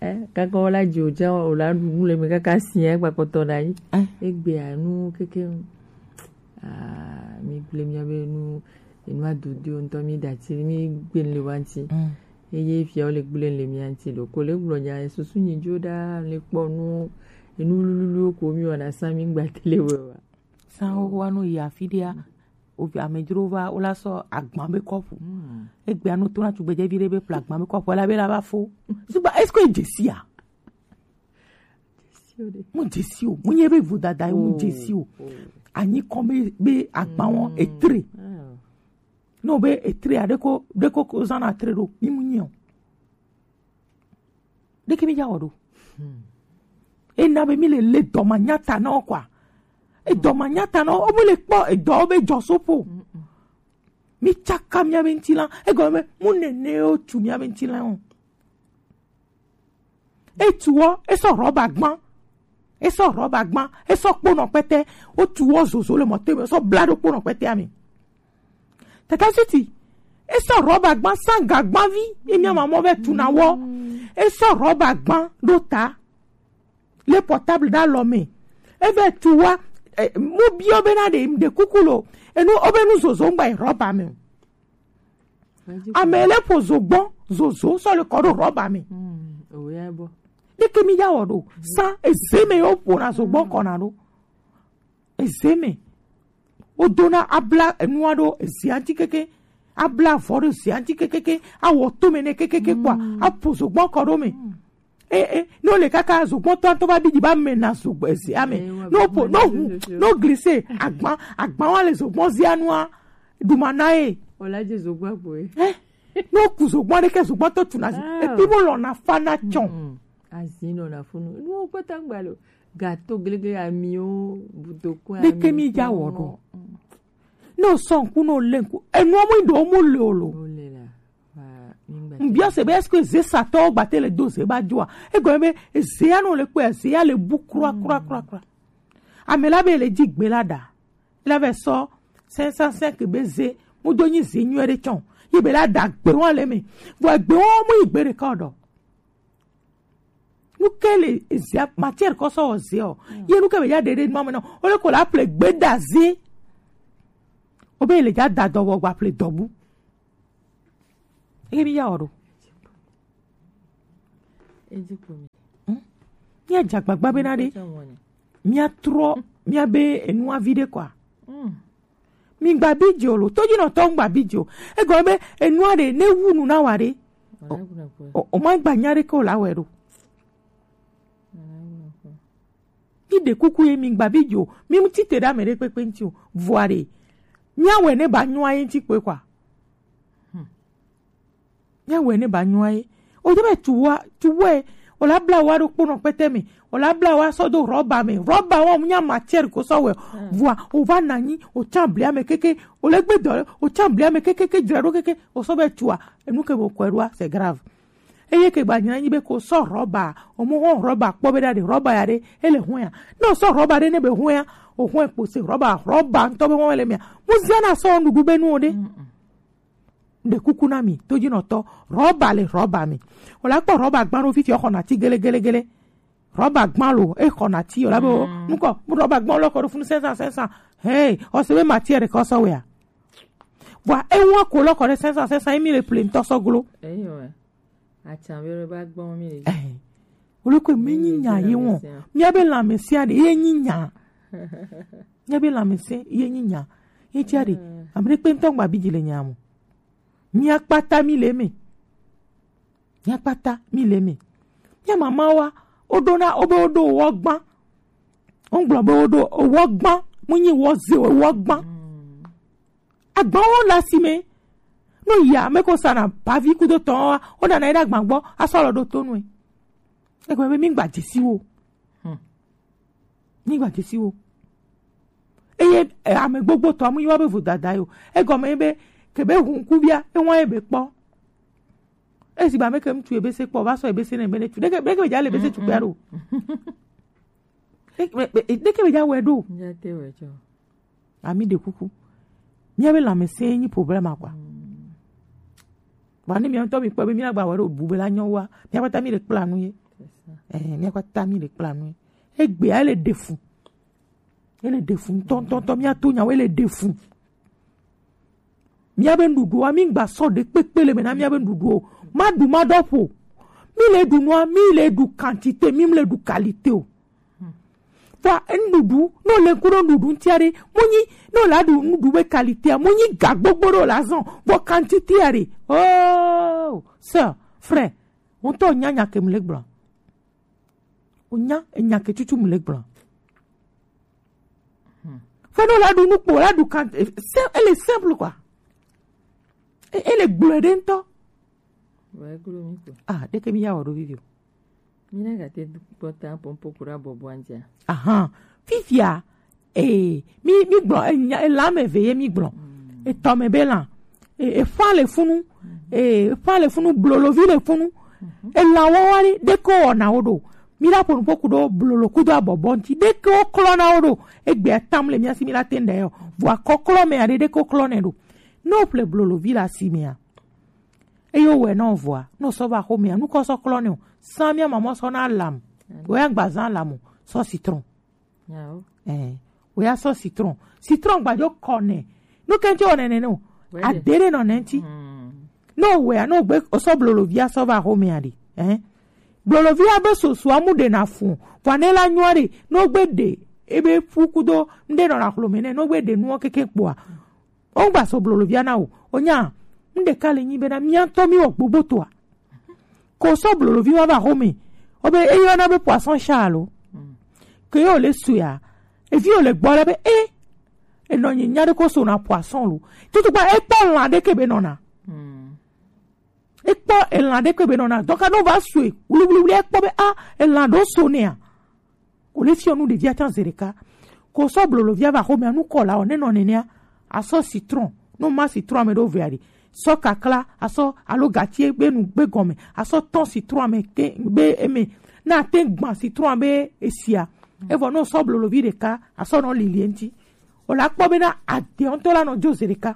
Eh, kaka wo la dzi o tsã, wo la ɖu nu le me kaka si, eh, gba kpɔtɔ na yi. Eh. Egbea nu keke, ah, mi gblẽ mia be nu, enu adudu ŋutɔ mi da ti, mi gbe le wa ŋuti. Mm. Eye fia wo le gblẽ le mia ŋuti ɖo. Ko le gblɔ nya, susu nyi dzo ɖa, le kpɔ nu, enu lululuwo ko mi wɔna sa mi gba tele wɛ wa. Sa wo wa nu yi afi ɖea, o vi amedzro va, wo la sɔ agba be kɔpu. Mm. Egbea no to na tugbedzevi ɖe be ƒle agba be kɔpu, ela be la va fo. Sugbɔ, est-ce que dzesi a? Mu dzesi o. Mu nye be vodada ye mu dzesi o. Oh. Anyi kɔ be, be agba wɔn etre. Ah. No be etre a ɖeko, ɖeko ko zana tre ɖo. Mi mu nyi o. Ɖeke mi dza wɔ ɖo. Hmm. Ena be mi le, le dɔ ma nyata na wo kɔa. Edɔ ma nyata na wo, wo me le kpɔ edɔ wo be dzɔ so po. Mm-mm. Mi tsaka mia be ŋutilã. Egɔme be, mu nene wo tu mia be ŋutilã o. Etuwɔ, esɔ rɔba gbã. Esɔ rɔba gbã. Esɔ kponɔ kpɛtɛ. Wotuwɔ zozo le mɔto me. Esɔ bla ɖo kponɔ kpɛtɛa me. Tata Siti, esɔ rɔba gbã, sanga gbã vi. Ye mia mamɔ be tuna wɔ. Esɔ rɔba gbã ɖo ta. Le portable ɖe alɔ me. Eve tu wa, eh, mu biɔ be na ɖe, ɖe kuku lo. Enu, obe nu zozo ŋgba yi rɔba me o. Ame le ƒo zogbɔn, zozo, sɔ le kɔ ɖo rɔba me. Mm, oya bɔ. Ɖeke mi ya wɔ ɖo. Sa eze me yo ƒona zogbɔn kɔna ɖo. Eze me. Wodona abla enua ɖo ezea ŋuti keke. Abla avɔ ɖo ezea ŋuti kekeke. Awɔ tome nɛ kekeke kpɔa. Mm. Aƒo zogbɔn kɔ ɖo me. Mm. Eh, eh, ne wole kaka zogbɔntɔ ŋutɔ va bi dzi va me na zogbɔ ezea me. Eh, ne woƒo, ne woʋu, ne woglise, agba, agba wa le zogbɔn zia nua, ɖuma na ye. Wòle dzi zogbɔn kpoe. Eh, ne woku zogbɔn ɖeke, zogbɔntɔ tuna zi. Ah. Epi mo lɔna fa na tsɔn. Mm, mm. Azi nɔna funu. Nuwo kpata ŋgba le o. Gato glegele, amiwo, butokun, ɖeke mi dza wɔ ɖo. Mm. Ne wosɔ ŋku, ne wole ŋku. Enua mo ɖo mo le o lo. Wole la. Ŋbia se be, est-ce que zesatɔwo gbate le do ze ba dzoa? Egɔme be, ezea no le kpɔe, ezea le bu kura, kura, kura, kura. Ame la be le dzi gbe la ɖa. La vɛ sɔ cinq cent cinq be ze, mu do nyi ze nyuie ɖe tsɔn. Yi be la ɖa gbe wa le me. Vɔ gbe wa mu yi gbe ɖeka o ɖɔ. Nu ke le ezea, matière kɔ sɔ wɔ ze o. Ye nu ke be ya ɖe ɖe nu ame nɔ. O le ko la ple gbe ɖa ze. O be le ja da dɔ wɔ gba ple dɔ bu. Eke mi ya wɔ ɖo. Edi ko mi. Hmm? Mía dze agbagba be na ɖe. Mía trɔ mía be enua vi ɖe kɔa. Hmm. Mi gba bi dze o lo. Todzi nɔ tɔ gba bi dze o. Egɔme be enua ɖe ne wu nu na wa ɖe. O, o, o ma gba nya ɖe ke o la wɛ ɖo. Mi ɖe kuku ye mi gba bi dze o. Mi mu tite ɖe ame ɖe kpekpe ŋuti o. Vɔa ɖe. Mía wɛ ne ba nyua ye ŋuti kpe kɔa. Hmm. Míawɔe ne ba nyɔa ye. O de be tu wa tu wɛ. O la bla wa ɖo kponɔ kpɛtɛ me. O la bla wa sɔ do rɔba me. Rɔba wa mu nya matière ko sɔ wɛ. Vɔa o va na nyi o tsan blia me keke. O le gbe dɔ o tsan blia me keke ke dzra ɖo keke. O sɔ be tua enu ke bo kɔe ɖoa c'est grave. Eye ke gba nyina nyi be ko sɔ rɔba. O mo hɔn rɔba kpɔ be ɖa ɖe rɔba ya ɖe ele hɔn ya. Ne o sɔ rɔba ɖe ne be hɔn ya o hɔn kpo se rɔba rɔba ŋutɔ be hɔn le mia. Mu zia na sɔ nuɖuɖu be nu o ɖe. Ɖe kuku na mi, to dzi nɔ tɔ, rɔba le rɔba me. O la kpɔ rɔba gbã ɖo fifi xɔ nati gele gele gele. Rɔba gbã lo, e xɔ nati o la be o, nukɔ, mu rɔba gbã lɔ kɔ ɖo funu sɛnsan sɛnsan. Hey, o se be matière kɔ sɔ wea. Vɔa, e wa ko lɔ kɔ ɖe sɛnsan sɛnsan, emi le ple ŋutɔ sɔ glo. Eyo, eh. Atsa be ba gbɔ mi le. Eh. O le ko mi nyi nya ye wɔ. Mi abe lãmesẽ ɖe ye nyi nya. Míabe lãmesẽ ye nyi nya. Ye tia ɖe, ame ɖe kpe ŋutɔ gba bi dzi le nya mo. Mía kpata mi le eme. Mía kpata mi le eme. Mía mamawa, woɖo na, wobe woɖo wɔ gbã. Wogblɔ be woɖo wɔ gbã. Mu nyi wɔ ze o, wɔ gbã. Agbawo le asi me. No ya, ame ko sana bavi kudo tɔn wa, wona na yi ɖe agba gbɔ, asɔ lɔ ɖo to nue. Egbe be mi gba dzesi wo. Hmm. Nyigba dzesi wo. Eye, eh, ame gbogbo tɔ amu yi wa be vodada yo. Egɔme ye be, ke be hu ŋku bia, e wa ye be kpɔ. Esi ba me ke ŋutsu ebe se kpɔ, va sɔ ebe se ne be ne tu. Ɖeke, ɖeke be dza le ebe se tu kpea ɖo. Ɖeke be, be, ɖeke be dza wɔe ɖo. Nya te wɔe tsɔ. Ami ɖe kuku. Míabe lãmesẽ nyi problème quoi. Vɔ ne mía ŋutɔ mi kpɔ be mía gba wɔ ɖo bu be la nyɔ wa, mía kpata mi le kpla nu ye. Eh, mía kpata mi le kpla nu ye. Egbea ele ɖe fu. Ele ɖe fu ŋutɔŋutɔ, mía to nyawo ele ɖe fu. Míabe nuɖuɖua, mi gba sɔ ɖe kpekpe le me na míabe nuɖuɖu o. Ma ɖu ma ɖɔ ƒo. Mi le ɖu nua, mi le ɖu quantité, mi le ɖu qualité o. Vɔa nuɖuɖu, ne wòle ŋku ɖe nuɖuɖu ŋutia ɖe, mu nyi, ne wòle aɖu nuɖuɖu be qualitéa, mu nyi ga gbogbo ɖe wòle azɔ, vɔ quantitéa ɖe. Oh, sœur, frère, wò ŋutɔ wònya nya ke mu le gblɔ. Wònya enya ke tutu mu le gblɔ. Fo ne wòle aɖu nu kpo, wòle aɖu kan, eh, sim-, ele simple quoi. E-, ele gblɔe ɖe ŋutɔ. Vɔ eglo mi ko. Ah, ɖeke mi ya wɔ ɖo vivi o. Mi na gate kpɔta pɔnpɔ kura bɔbɔ antia. Ahan. Fifia, eh, mi, mi gblɔ, eh, nya, eh, lã me ve ye mi gblɔ. Mm. Etɔ me be lã. Eh, efa le funu. Mm. Eh, efa le funu, blolovi le funu. Mhm. Elã wɔwa ɖe, ɖeke wɔna wo ɖo. Mi la ƒo nuƒo ku ɖo blolo kudo abɔbɔ ŋuti. Ɖeke wo klɔna wo ɖo. Egbea tam le mia si mi la te ŋɖe yɔ. Vɔa kɔklɔ me aɖe ɖeke wo klɔnɛ ɖo. Ne wo ƒle blolovi le asi mea, eye wowɔe na wò vɔa, ne wòsɔ va xomea, nu ka wosɔ klɔnɛ o? Zã mía mamɔ sɔ na lam. Wò ya gba zã lam o, sɔ citron. Nyawo. Eh, wò ya sɔ citron. Citron gbadzo kɔ nɛ. Nu ke ŋuti wɔ nɛnɛ ne o. Wɛ. Ade ɖe nɔ nɛ ŋuti. Hmm. Ne wòwɔea, ne wògbe, wosɔ blolovia sɔ va xomea ɖe. Eh. Blolovia be sosoa mu ɖena fu. Vɔa ne la nyua ɖe, ne wogbe ɖe, ebe fu kudo, ŋɖe nɔ la xlome nɛ, ne wogbe ɖe nuwo keke kpoa. Wogba sɔ blolovia na wò. Wonya, nu ɖeka le nyi bena mía ŋutɔ mí wɔ gbogbotoa. Ko sɔ blolovi ma va xome. Wobe eyɔna be poisson chat alo. Ke ye wòle soea, evi wòle gbɔ la be, e, enɔ nyi nya ɖe ko sona poisson lo. Tutuba ekpɔ lã ɖeke be nɔna. Ekpɔ elã ɖeke be nɔna. Donc, ne wova soe, wluwluwlu, ekpɔ be, ah, elã ɖo so nɛa. Wòle fiɔ nu ɖevia tsã zi ɖeka. Ko sɔ blolovia va xomea, nu kɔ la o, ne nɔ nenea, asɔ citron. Ne ma citron ame ɖewo vea ɖi. Sɔ kakla, asɔ, alo gatie be nu gbe gɔme, asɔ tɔn citron ame ke be eme. Na te gba citron be esia. Evɔ ne sɔ blolovi ɖeka, asɔ nɔ lilie ŋuti. Wòle akpɔ bena ade ŋutɔ la nɔ dzo zi ɖeka.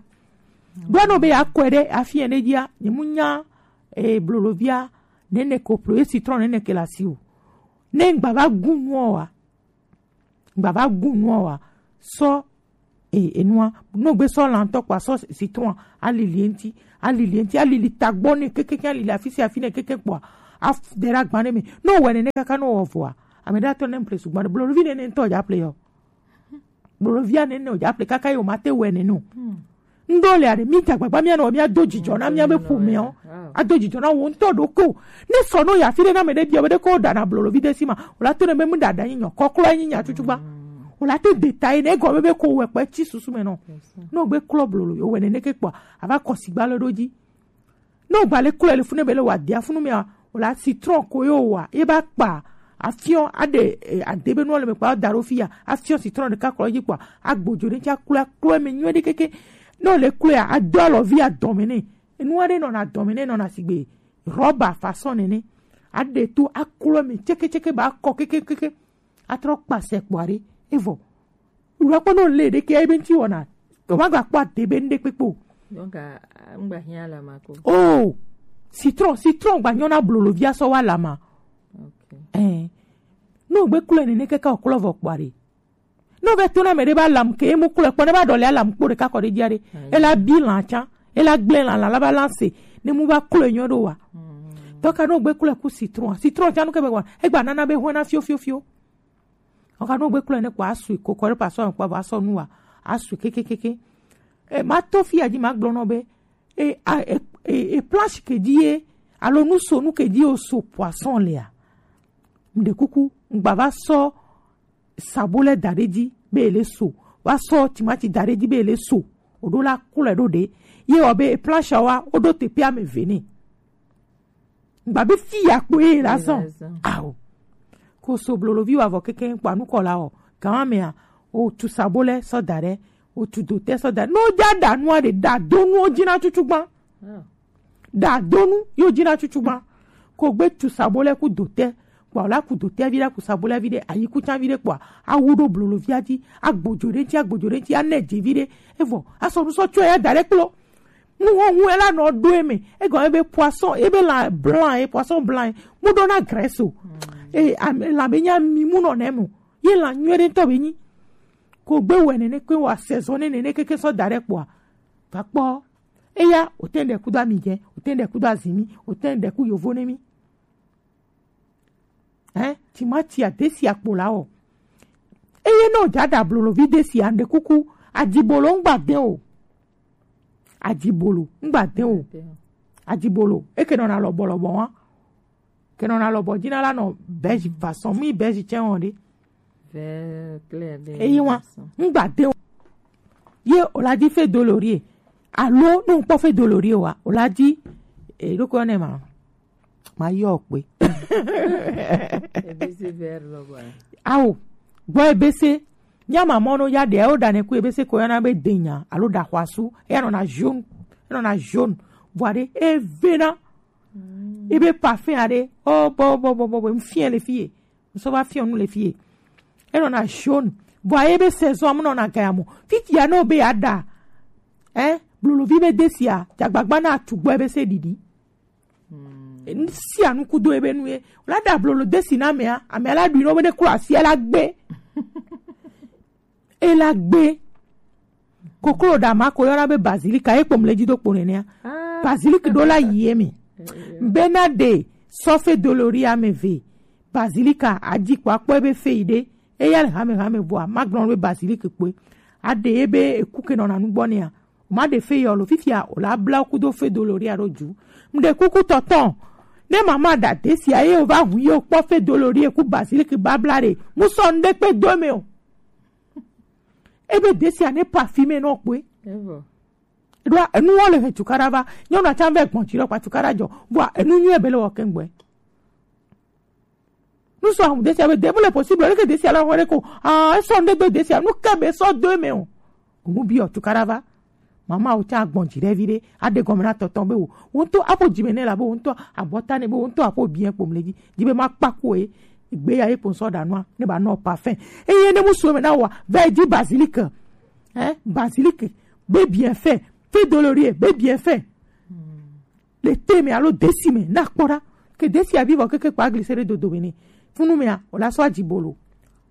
Ɖo anɔ be yeakɔe ɖe afi ene dzia, nye mu nya, eh, blolovia, nene ko plo, ye citron nene ke le asi o. Ne ŋgba va gu nua oa, ŋgba va gu nua oa, sɔ, e, enua, ne wogbe sɔ lã ŋutɔ kpoa, sɔ citron alili eŋuti, Alili ŋuti, alili tagbɔ ne kekeke, alili afi sia afi ne keke kpɔa, afu de ɖe agba ne me. Ne wowɔe nene kaka ne wowɔ vɔa, ame ɖe atɔ ne ŋple sugbɔ ɖe, blolovi nene ŋutɔ dza ple yɔ. Blolovia nene wodza ƒle kaka ye womate wɔe nene o. Ŋɖewo le aɖe, mí dze agbagba míanɔ, míado dzidzɔ na míabe ƒomeawo. Ado dzidzɔ na wò ŋutɔ ɖokui o. Ne sɔ no yi afi ɖe na ame ɖe bia be ɖe ko ɖana blolovi ɖe si ma, wòla to ne be mu ɖaɖa nyi nyɔ, kɔklɔ nyi nya tutu gba. Wòla te de ta yi ne egɔme be ko wɔ kpe tsi susu me nɔ. Ne wogbe klɔ blolo, wowɔe nene ke kpɔa, ava kɔ sigba le ɖo dzi. Ne wogba le klɔe le funu be le wɔ adia funu mea, wòla citron ko ye wowɔa, ye ba kpa afiɔ aɖe, eh, ade be nua le me kpa da ɖo fi ya, afiɔ citron ɖeka kɔ dzi kpɔa, agbodzo ɖe ŋuti aklɔe, aklɔe me nyuie ɖe keke. Ne wòle klɔea, ado alɔvi adɔme nɛ. Enu aɖe nɔna adɔme nɛ, nɔna sigbe rɔba façon nene. Aɖe to aklɔe me tseke tseke ba kɔ keke keke. Atrɔ kpa se kpɔa ɖe, evɔ. Wòla kpɔ ne wòle ɖeke ebe ŋuti wɔna. Wòmagba kpɔ ade be ŋɖe kpekpe o. Donc, a, a, ŋgba hiã alama ko. Oh, citron, citron gba nyɔna blolovia sɔ wa alama. Ok. Eh. Ne wogbe klɔe nene kaka wòklɔ vɔ kpɔa ɖe. Ne wovɛ to na ame ɖe be alam ke, emu klɔe kpɔ, ne ba ɖɔli alam kpo ɖeka kɔ ɖe dzia ɖe. Ela bi lã tsã, ela gblẽ lã, lã la ba lã se, ne mu ba klɔe nyɔ ɖo wa. Tɔka ne wogbe klɔe ku citron, citron tsã nu ke be wa, egba nana be hɔna fio, fio, fio. Ɔka no gbe klɔe ne kpɔ asui kokɔ ɖe pasɔ kpɔ vɔ asɔ nu wa asui kekekeke. E, ma to fi ya dzi ma gblɔ nɔ be, e, a, e, e, e, planche ke dzi ye, alo nu so nu ke dzi o so poisson lea. Mɖe kuku, ŋgba va sɔ sabo lɛ da ɖe dzi be ele so, va sɔ timati da ɖe dzi be ele so, o ɖo la klɔe ɖo ɖe, ye wɔ be e planche wa, o ɖo teƒe ame eve nɛ. Gba be fi ya kpoe la zɔn. Ao. Ko so blolovi wa vɔ keke kpa nu kɔ la o. Gan mea, o tu sabo lɛ sɔ da ɖe, o tu dotɛ sɔ da ɖe. No ja da nua ɖe, da do nuwo dzi na tutu gban. Da do nu yo dzi na tutu gban. Ko gbe tu sabo lɛ ku dotɛ. Kpɔ la ku dotɛ vi ɖe, ku sabo lɛ vi ɖe, ayi ku tsa vi ɖe kpɔ. Awu ɖo blolovia dzi, agbodzo ɖe ŋuti, agbodzo ɖe ŋuti, anɛ dze vi ɖe. Evɔ, asɔ nu sɔ tsɔe ya da ɖe kplo. Nuxɔxu ela nɔ ɖo eme. Egɔme be poisson, ebe lã blanc ye, poisson blanc ye. Mu ɖo na graisse o. E, ame, lã be nya mi mu nɔ nɛ mo. Ye lã nyuie ɖe ŋutɔ be nyi. Ko gbe wɛ nene ke wa saison ne nene keke sɔ da ɖe kpɔa. Va kpɔ. Eya, o te ɖe kudo ami dze, o te ɖe kudo azimi, o te ɖe ku yovo ne mi. Hein, timati a desi akpo la o. Eye no ja da blolovi desi ande kuku, adibolo ŋgba de o. Adibolo ŋgba de o. Adibolo, e ke nɔna lɔbɔ lɔbɔ wa. Ke nɔna lɔbɔ dzi na la nɔ bɛji façon, mi bɛji tsɛ wɔn ɖe. Vert clair ɖe. Eyi wa, ŋgba de o. Ye o la di fe dolorie. Alo, no ŋkpɔ fe dolorie wa. O la di, e, ɖo ko ne ma. Ma yɔ kpe. Ebese vert lɔ bɔ. Awo, gbɔ ebese. Nya ma mɔ no ya ɖe, o ɖa ne ku ebese ko yɔna be denya, alo ɖa xɔasu, eya nɔna jaune, enɔna jaune. Vɔa ɖe, evena. Ebe parfum aɖe, o, bo, bo, bo, bo, bo, mfie le fie. Ŋsɔ va fiɔ nu le fie. Enɔna jaune. Vɔa ebe saison amu nɔna gaya mo. Fifia no be ya ɖa. Eh, blolovi be desia, jagbagba na tu gbɔ ebese ɖiɖi. Sia nu kudo ebe nu ye. La da blolo desi na amea, amea la ɖui no be ne klo asia la gbe. E la gbe. Koklo da ma ko yɔna be bazilika, ye kpom le dzi do kpo nenea. Bazilika ɖo la yi eme. Bena de sɔfe dolori ame ve. Bazilika adzi kpɔ akpɔ ebe fe yi ɖe. Eya le hame hame vɔa, ma gblɔ be bazilika kpoe. Aɖe ye be eku ke nɔna nu gbɔ nea. Ma ɖe fe yɔ lo fifia o la bla kudo fe dolori alo dzu. Mɖe kuku tɔtɔ. Ne mama da desia ye o va hu ye o kpɔ fe dolori ku bazilika babla ɖe. Mu sɔ ŋɖe kpe do me o. Ebe desia ne parfumé nɔ kpoe. Eɖoa enuwo le he tukaɖa va. Nyɔnua tsã vɛ gbɔn dzi ɖe kpa tukaɖa dzɔ. Vɔa enu nyuie be le wɔ kɛŋgbɛ. Nu sɔ ahu desia be de mu le possible, leke desia la hore ko. Ah, esɔ ŋɖe do desia. Nu ke be sɔ do me o. Mu bi o tukaɖa va. Mama o tsã gbɔn dzi ɖe vi ɖe. Aɖe gɔme na tɔtɔ be o. Wo ŋutɔ aƒo dzi me ne la be o ŋutɔ abɔta ne be o ŋutɔ aƒo bien kpom le dzi. Dzi be ma kpa ko e. Gbe ya ye kpom sɔ ɖa nua. Ne ba nɔ parfum. Eye ne mu sɔ me na wa. Vɛ dzi basilic. Hein? Basilic. Be bien fait. Fait dolorie. Be bien fait. Le te me alo desi me na kpɔ ɖa. Ke desi abi vɔ keke kpa glise ɖe dodo me ne. Funu mea, o la sɔ adzi bolo.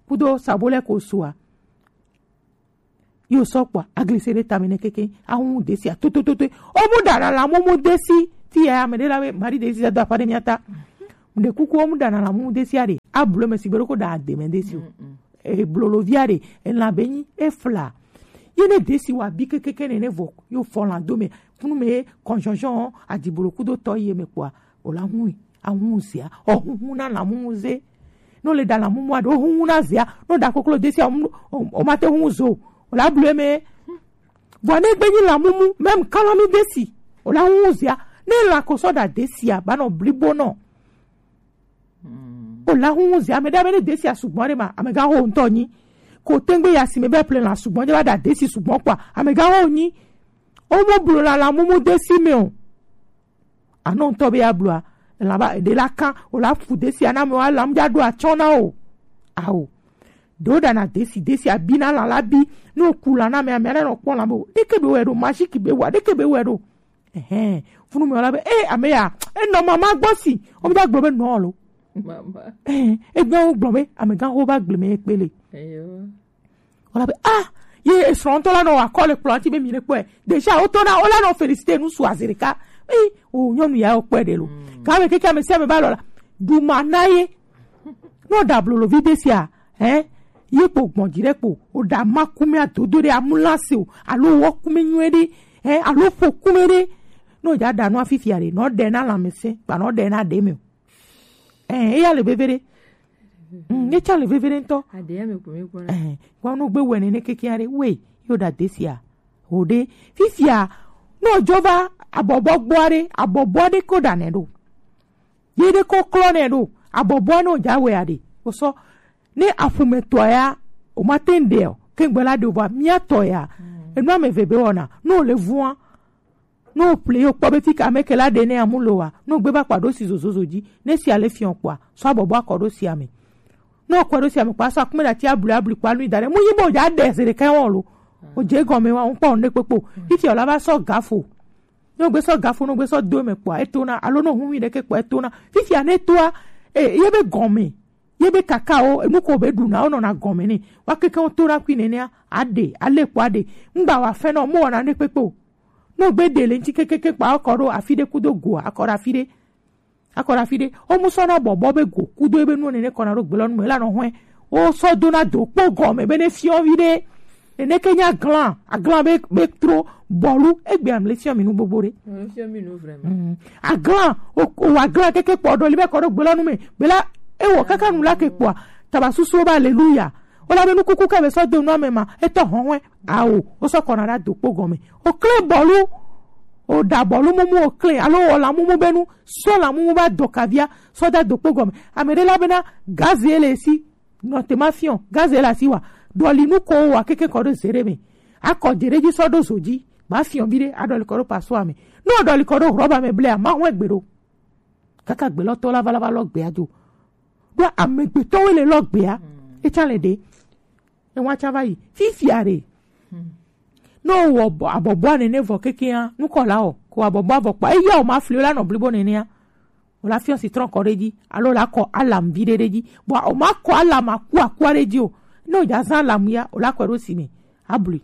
Kudo sabo lɛ ko sua. Yo sɔ kpɔa, aglise ɖe tame ne keke, ahun desi a, to, to, to, to. O mu ɖana la mumu desi, ti ya ame ɖe la be, mari desi do apa ɖe mia ta. Ɖe kuku o mu ɖana la mumu desi a ɖe, a blo me sigbe ɖo ko ɖa de me desi o. E blolo via ɖe, e la be nyi, e fla. Ye ne desi wa bi keke ne ne vɔ, yo fɔ la do me, kunu me, kɔnjɔnjɔn, adibolo kudo tɔ ye me kpɔa, o la hun, ahun zia, o hun hun na la mumu ze. No le ɖa la mumu a ɖo hun hun na zia, no ɖa koklo desi a, o, o ma te hun zo, o la blu me. Vɔ ne gbe nyi la mumu, même kalami desi, o la hun zia, ne la ko sɔ ɖa desi a, ba nɔ blibo nɔ. O la hun zia, ame ɖe ame ne desi a sugbɔn ɖe ma, ame ga ho ŋutɔ nyi. Ko tengbe ya si me be ple la sugbɔn, je ba ɖa desi sugbɔn kpɔa, ame ga ho nyi. O mo blo la la mumu desi me o. Anɔ ŋutɔ be ya blua, la ba ɖe la kan, o la fu desi ana me wa la mu ja ɖo atsɔ na o. Ao. Ɖo ɖana desi, desi abi na la la bi, no ku la na me, ame ana nɔ kpɔ la be o. Ɖeke be wɛ ɖo, machiki be wa, ɖeke be wɛ ɖo. Ɛhɛn, funu me wa la be, eh, ame ya, e nɔ mama gbɔ si, o mi da gblɔ be nɔ lo. Mama. Eh, e gblɔ gblɔ be, ame ga ho ba gble me kpele. Eyo. Wala be, ah, ye esrɔ̃tɔ la nɔ akɔ le kplɔ̃ ŋuti be mi ne kpɔe. Déjà, wotɔ na, wola nɔ féliciter nu su azirika. Ee, o nyɔnu ya wokpɔe ɖe lo. Ka me keke ame sia ame ba lɔ la. Duma na ye. No da blolo vi de sia, eh? Ye kpo gbɔn dzi ɖe kpo. O da ma kume adodo ɖe amulase o. Alo wɔ kume nyuie ɖe, eh? Alo ƒo kume ɖe. No ja da nu afifia ɖe. No ɖe na lãmesẽ. Kpa no ɖe na ɖe me o. Eh, eya le veve ɖe. Mm, ne tsã le veve ɖe ŋutɔ. Aɖea me ko mi gbɔna. Eh, wa no gbe wɛ nene keke aɖe. We, yo da desia. O ɖe. Fifia, no jo va abɔbɔ gbɔ aɖe, abɔbɔ aɖe ko ɖa nɛ ɖo. Ye ɖe ko klɔ nɛ ɖo. Abɔbɔ no ja wɛ aɖe. O sɔ, ne aƒume tɔ ya, o ma te ŋ ɖe o. Ke ŋgbe la ɖe o va, mia tɔ ya. Enu ame eve be wɔna. No le vua. No ple yo kpɔ be fika ame ke la ɖe ne amu lo wa. No gbe va kpa ɖo si zozozo dzi. Ne si ale fiɔ kpɔa, sɔ abɔbɔ akɔ ɖo si ame. No kɔ ɖo si ame kpa sɔ akume ɖati ablu ablu kpa nu da ɖe. Mu yi bo ja ɖe se ɖeka wɔ lo. O je gɔme wa, ŋkpɔ ne kpekpo. Fifia la va sɔ gafo. No gbe sɔ gafo, no gbe sɔ do me kpɔa, etona. Alo no hu mi ɖeke kpɔa, etona. Fifia ne toa, e, ye be gɔme. Ye be kakawo, enu ko be ɖuna, wonɔna gɔme nɛ. Wa keke wo to ɖa kui nenea, aɖe, ale kpɔ aɖe. Ŋgba wa fɛn nɔ, mo wɔna ne kpekpe o. No gbe ɖe le ŋuti kekeke kpa akɔ ɖo afi ɖe kudo goa, akɔ ɖo afi ɖe. Akɔ ɖo afi ɖe. O mu sɔ na bɔbɔ be go, kudo ebe nuwo nene kɔna ɖo gbelɔ nu me la nɔ hɔɛ. O sɔ do na do kpo gɔme be ne fiɔ vi ɖe. Nene ke nya glan, aglan be, be tro bɔlu, egbe amle fiɔ mi nu gbogbo ɖe. Fiɔ mi nu vraiment. Mm. Aglan, o, o aglan keke kpɔ ɖo li be kɔ ɖo gbelɔ nu me. Bela, e wɔ kaka nu la ke kpɔa. Taba susu ba, aleluya. O la be nu kuku ka be sɔ do nu ame ma, etɔ hɔn wɛ. Awo, o sɔ kɔna ɖa do kpo gɔme. O kle bɔlu, o da bɔlu mumu o kle, alo o la mumu be nu, sɔ la mumu ba do kavia, sɔ da do kpo gɔme. Ame ɖe la be na, gaze le si. Nɔ te ma fiɔ, gaze la si wa. Ɖɔli nu ko wa keke kɔ ɖo zere me. Akɔ dze ɖe dzi sɔ ɖo zo dzi. Ba fiɔ vi ɖe, aɖɔli kɔ ɖo pasua me. No ɖɔli kɔ ɖo hlɔba me blea, ma hɔn egbe ɖo. Kaka gbe lɔ tɔ la va la va lɔ gbea dzo. Ɖo amegbetɔwo le lɔ gbea. Etsa le ɖe. Ewa tsa va yi. Fifia ɖe. No wɔ bɔ-, abɔbɔa nene vɔ kekea, nukɔ la wɔ. Ko abɔbɔa vɔ kpa. Eya o ma fli o la nɔ blibo nenea. O la fiɔ si trɔn kɔ ɖe dzi, alo la kɔ alam vi ɖe ɖe dzi. Bɔn o ma kɔ alam aku akua ɖe dzi o. Ne o dza zã alam ya, o la kɔe ɖo si me. Abli.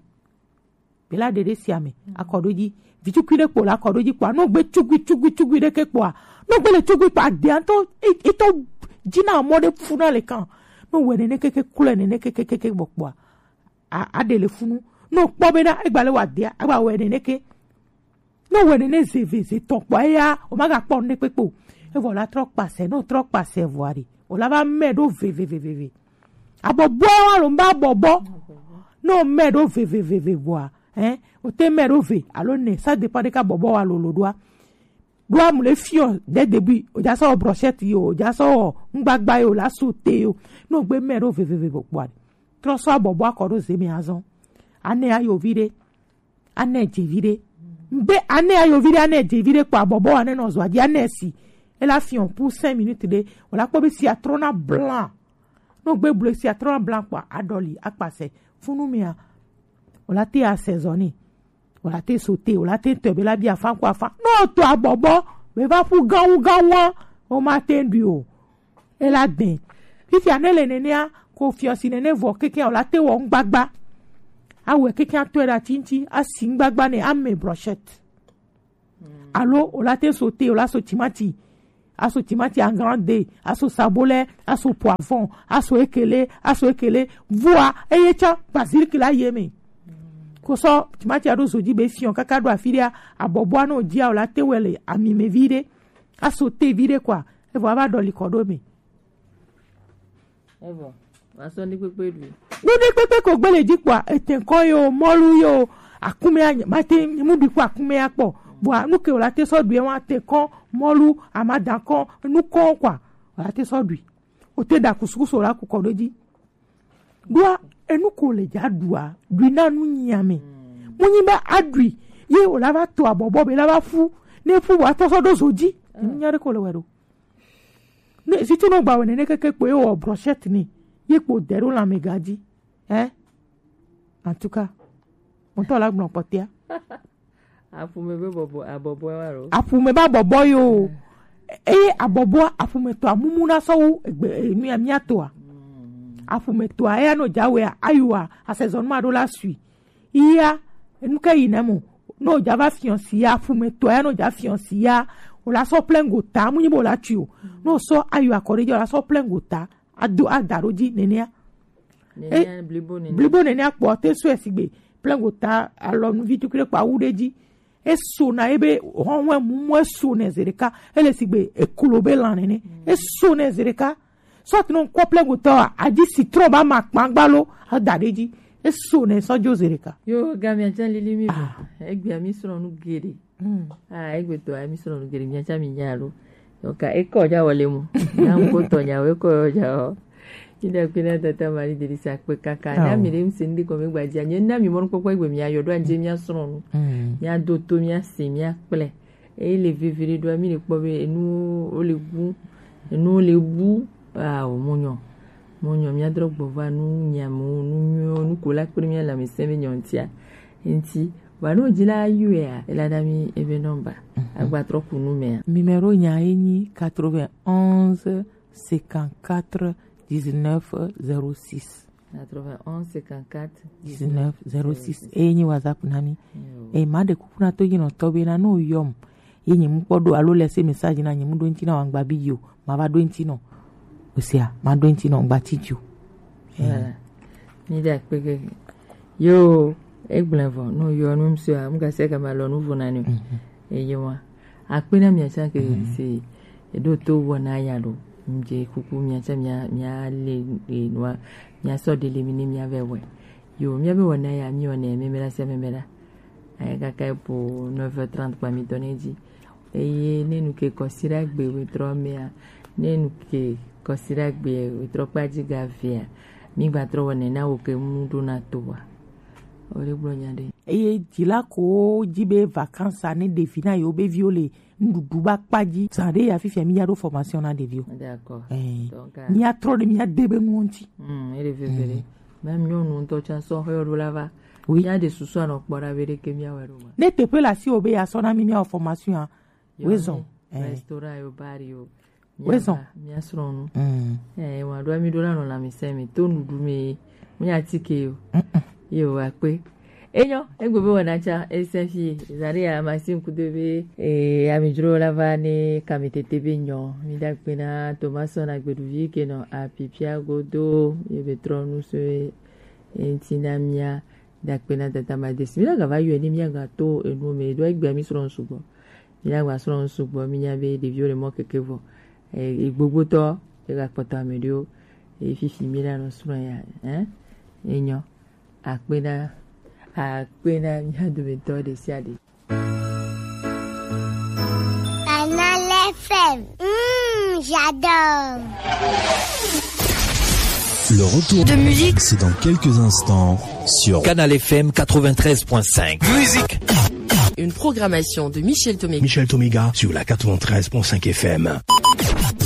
Be la ɖe ɖe sia me. Akɔ ɖo dzi. Vi tsukui ɖe kpo la kɔ ɖo dzi kpoa. No gbe tsugui, tsugui, tsugui ɖe ke kpoa. No gbe le tsugui kpoa, aɖea ŋutɔ, e-, etɔ dzi na mɔ ɖe fu na le kan. No wɛ nene keke klɔe nene keke keke gbɔ kpoa. A, aɖe le funu. No kpɔ be na, egba le wa ɖea, egba wɛ nene ke. No wɛ nene ze ve ze tɔ kpɔ eya, o ma ga kpɔ nu ɖe kpekpe o. Evɔ la trɔ kpasɛ, no trɔ kpasɛ vɔ aɖe. O la va mɛ ɖo ve ve ve ve ve. Abɔbɔ wa lo mba bɔbɔ. No mɛ ɖo ve ve ve ve vɔa, hein? O te mɛ ɖo ve, alo ne, ça dépend de ka bɔbɔ wa lo lo ɖoa. Ɖoa mu le fiɔ dès début, o ja sɔ brochette yo, o ja sɔ ŋgbagba yo, la sauté yo. No gbe mɛ ɖo ve ve ve ve kpɔ aɖe. Trɔ sɔ abɔbɔ akɔ ɖo ze me azɔ. Ane ayo vi ɖe. Anɛ dze vi ɖe. Mbe anɛ ayo vi ɖe, anɛ dze vi ɖe kpɔ abɔbɔ wa ne nɔ zɔa dzi, anɛ si. Ela fiɔ pour cinq minutes ɖe. Wala kpɔ be si atrɔ na blanc. No gbe blo si atrɔ na blanc kpɔ aɖɔli akpasɛ. Funu mea. Wala te asɛ zɔ ni. Wala te sauté, wala te tɔ be la bi afan kpɔ afan. No to abɔbɔ. Be va ƒu gawu gawu a. O ma te ɖui o. Ela dɛn. Fifia ne le nenea, ko fiɔ si nene vɔ keke o la te wɔ ŋgbagba. Awɛ keke atɔe ɖe ati ŋuti, asi ŋgbagba nɛ, ame brochette. Alo o la te so te, o la so timati, aso timati en grand de, aso sabolɛ, aso poivron, aso ekele, aso ekele. Vɔa eye tsã basilic la ye me. Ko sɔ timati aɖo zo dzi be fiɔ kaka ɖo afi ɖea, abɔbɔa no dzia o la te wɛ le ami me vi ɖe, aso te vi ɖe kɔa, evɔ ava ɖɔli kɔ ɖo me. Evɔ, asɔ ni kpekpe ɖui. Ɖuɖi kpekpe ko gbele dzi kpɔa, ete kɔ yo, mɔlu yo, akume anya, mate mu ɖui kpɔ akume ya kpɔ. Bua nu ke o la te sɔ ɖui wa te kɔ, mɔlu, amada kɔ, nu kɔ kɔa, o la te sɔ ɖui. O te ɖa kusukusu o la ku kɔ ɖo dzi. Ɖua, enu ko le dza ɖua, ɖui na nu nyame. Mu nyi be aɖui, ye o la va to abɔbɔ be la va fu, ne fu wa tɔ sɔ ɖo zo dzi. Enu nya ɖe ko le wɛ ɖo. Ne zitu no gba wɛ nene keke kpo ye wɔ brochette ni, ye kpo de ɖo lãmɛga dzi. Hein? En tout cas, ŋutɔ la gblɔ kpɔtɛa. Aƒume be bɔbɔ, abɔbɔ wa lo. Aƒume be abɔbɔ yo. Eye abɔbɔ aƒume tɔ amumu na sɔ wu egbe, eh, mia, mia tɔa. Aƒume tɔa, eya no dza wɛa, ayua, asezɔnu ma ɖo la sui. Iya, enu ke yi nɛ mo. No dza va fiɔ si ya, aƒume tɔa ya no dza fiɔ si ya. O la sɔ plengo ta, mu nyi bo la tui o. No sɔ ayo akɔ ɖe dzi, o la sɔ plengo ta. Ado ada ɖo dzi nenea. Nenea, blibo nenea. Blibo nenea kpɔ te sɔe sigbe plengo ta alɔ nu vi tukui ɖe kpa wu ɖe dzi. Eso na ebe hɔnwe mumu eso ne zereka. Ele sigbe eklo be lan nene. Eso ne zereka. Sɔti no kɔ plengo tɔ a, adzi citron ba ma kpangba lo, ada ɖe dzi. Eso ne sɔ jo zereka. Yo, gamia tsa lili mi. Ah. Egbea mi srɔ̃ nu geɖe. Mm. Ah, egbetɔ, emi srɔ̃ nu geɖe, miatsa mi nya alo. Donc, ekɔ dza wɔ le mo. Na ŋkɔ tɔ nya wo, ekɔ dza wɔ. Ina kpina tata mari deli sa kpe kaka. Oh. Na mi ɖe mi se ndi kɔmi gbadzia. Nye na mi mɔnu kpɔkpɔ egbe mia yɔ ɖo anje mia srɔ̃ nu. Mm. Mia do to mia se mia kple. Eye le vevere ɖoa mi le kpɔ be enu wo le bu. Enu wo le bu. Ah, o mo nyɔ. Mo nyɔ mia drɔ gbɔ va nu nya mo, nu nyɔ, nu ko la kple mia la mi se be nyɔ ntia. Nti, vɔ ne wodzi la yɔea, ela na mi ebe nɔmba. Mhm. Agbatrɔ ku nu mea. Numéro nya ye nyi quatre-vingt-onze cinquante-quatre dix-neuf zéro six. Quatre-vingt-onze cinquante-quatre dix-neuf zéro six. Eye nyi WhatsApp na mi. Yo. Eye ma ɖe kuku na to yi nɔ tɔ be na no yɔm. Ye nyi mu kpɔ ɖo alo lɛ se message na nyi mu ɖo ŋti na wangba bi yo. Ma va ɖo ŋti nɔ. Osia, ma ɖo ŋti nɔ gba ti jo. Voilà. Mi da kpeke. Yo, egblẽ vɔ, no yɔ nu ŋusua, ŋgase gama lɔ nu vo na ni o. Mhm. Eye wa. Akpe na mia tsã ke, mhm, se eɖo to wɔ na ya ɖo. Ŋdze kuku mia tsã mia, mia le, e, nua, mia sɔ ɖe le mi ne mia vɛ wɛ. Yo, mia be wɔ na ya, mi wɔ ne meme la se meme la. Ayi kaka po neuf heures trente kpa mi tɔ ne dzi. Eye ne nu ke kɔsiɖagbe wetrɔ mea, ne nu ke kɔsiɖagbe wetrɔ kpa dzi ga vea, mi gba trɔ wɔ nena wo ke mu ɖo na to wa. O le gblɔ nya ɖe. Eye dzila ko dzi be vacances ne ɖevi na yewo be viwo le nuɖuɖu ba kpa dzi. Zã ɖe ya fifia mi ya ɖo formation na ɖeviwo. D'accord. Eh, donc, ah, mi ya trɔ ɖe mi ya de be nuwo ŋuti. Hmm, ele veve ɖe. Mm. Même nyɔnu ŋutɔ tsã sɔ xɔ ɖo la va. Oui. Mi ya ɖe susu anɔ kpɔ ɖa be ɖeke mi ya wɛ ɖo ma. Ne teƒe le asi wo be ya sɔ na mi mi ya wɔ formation a. Yo, wezɔn. Eh. Restaurant yo, bar yo. Wezɔn. Mia srɔ̃ nu. Mm. Eh, wa ɖo mi ɖo la nɔ lãmesẽ me to nuɖu me. Mu nya tike yo. Mm-mm. Yo, akpe. Enyo, egbe be wɔna tsa, ese fi, zari ya machine kudo be, eh, amidzro la va ne kamitete be nyɔ. Mi da gbe na Thomas na gbeɖuvi ke nɔ apipia godo, ye be trɔ nu so, eh, ŋti na mia, da gbe na tata ma desi. Mi la ga va yɔ ni mia ga to enu me, do egbe mi srɔ̃ sugbɔ. Mi la gba srɔ̃ sugbɔ, mi nya be ɖeviwo le mɔ keke vɔ. Eh, gbogbotɔ, e ga kpɔtɔ ame ɖewo, e fifi mi la nɔ srɔ̃ ya, eh? Enyo. Akpe na, akpe na mia dometɔ ɖe sia ɖe. Canal F M. Mm, j'adore. Le retour de musique, c'est dans quelques instants sur Canal F M quatre-vingt-treize point cinq. Musique. Une programmation de Michel Tomé. Michel Tomiga sur la quatre-vingt-treize point cinq F M.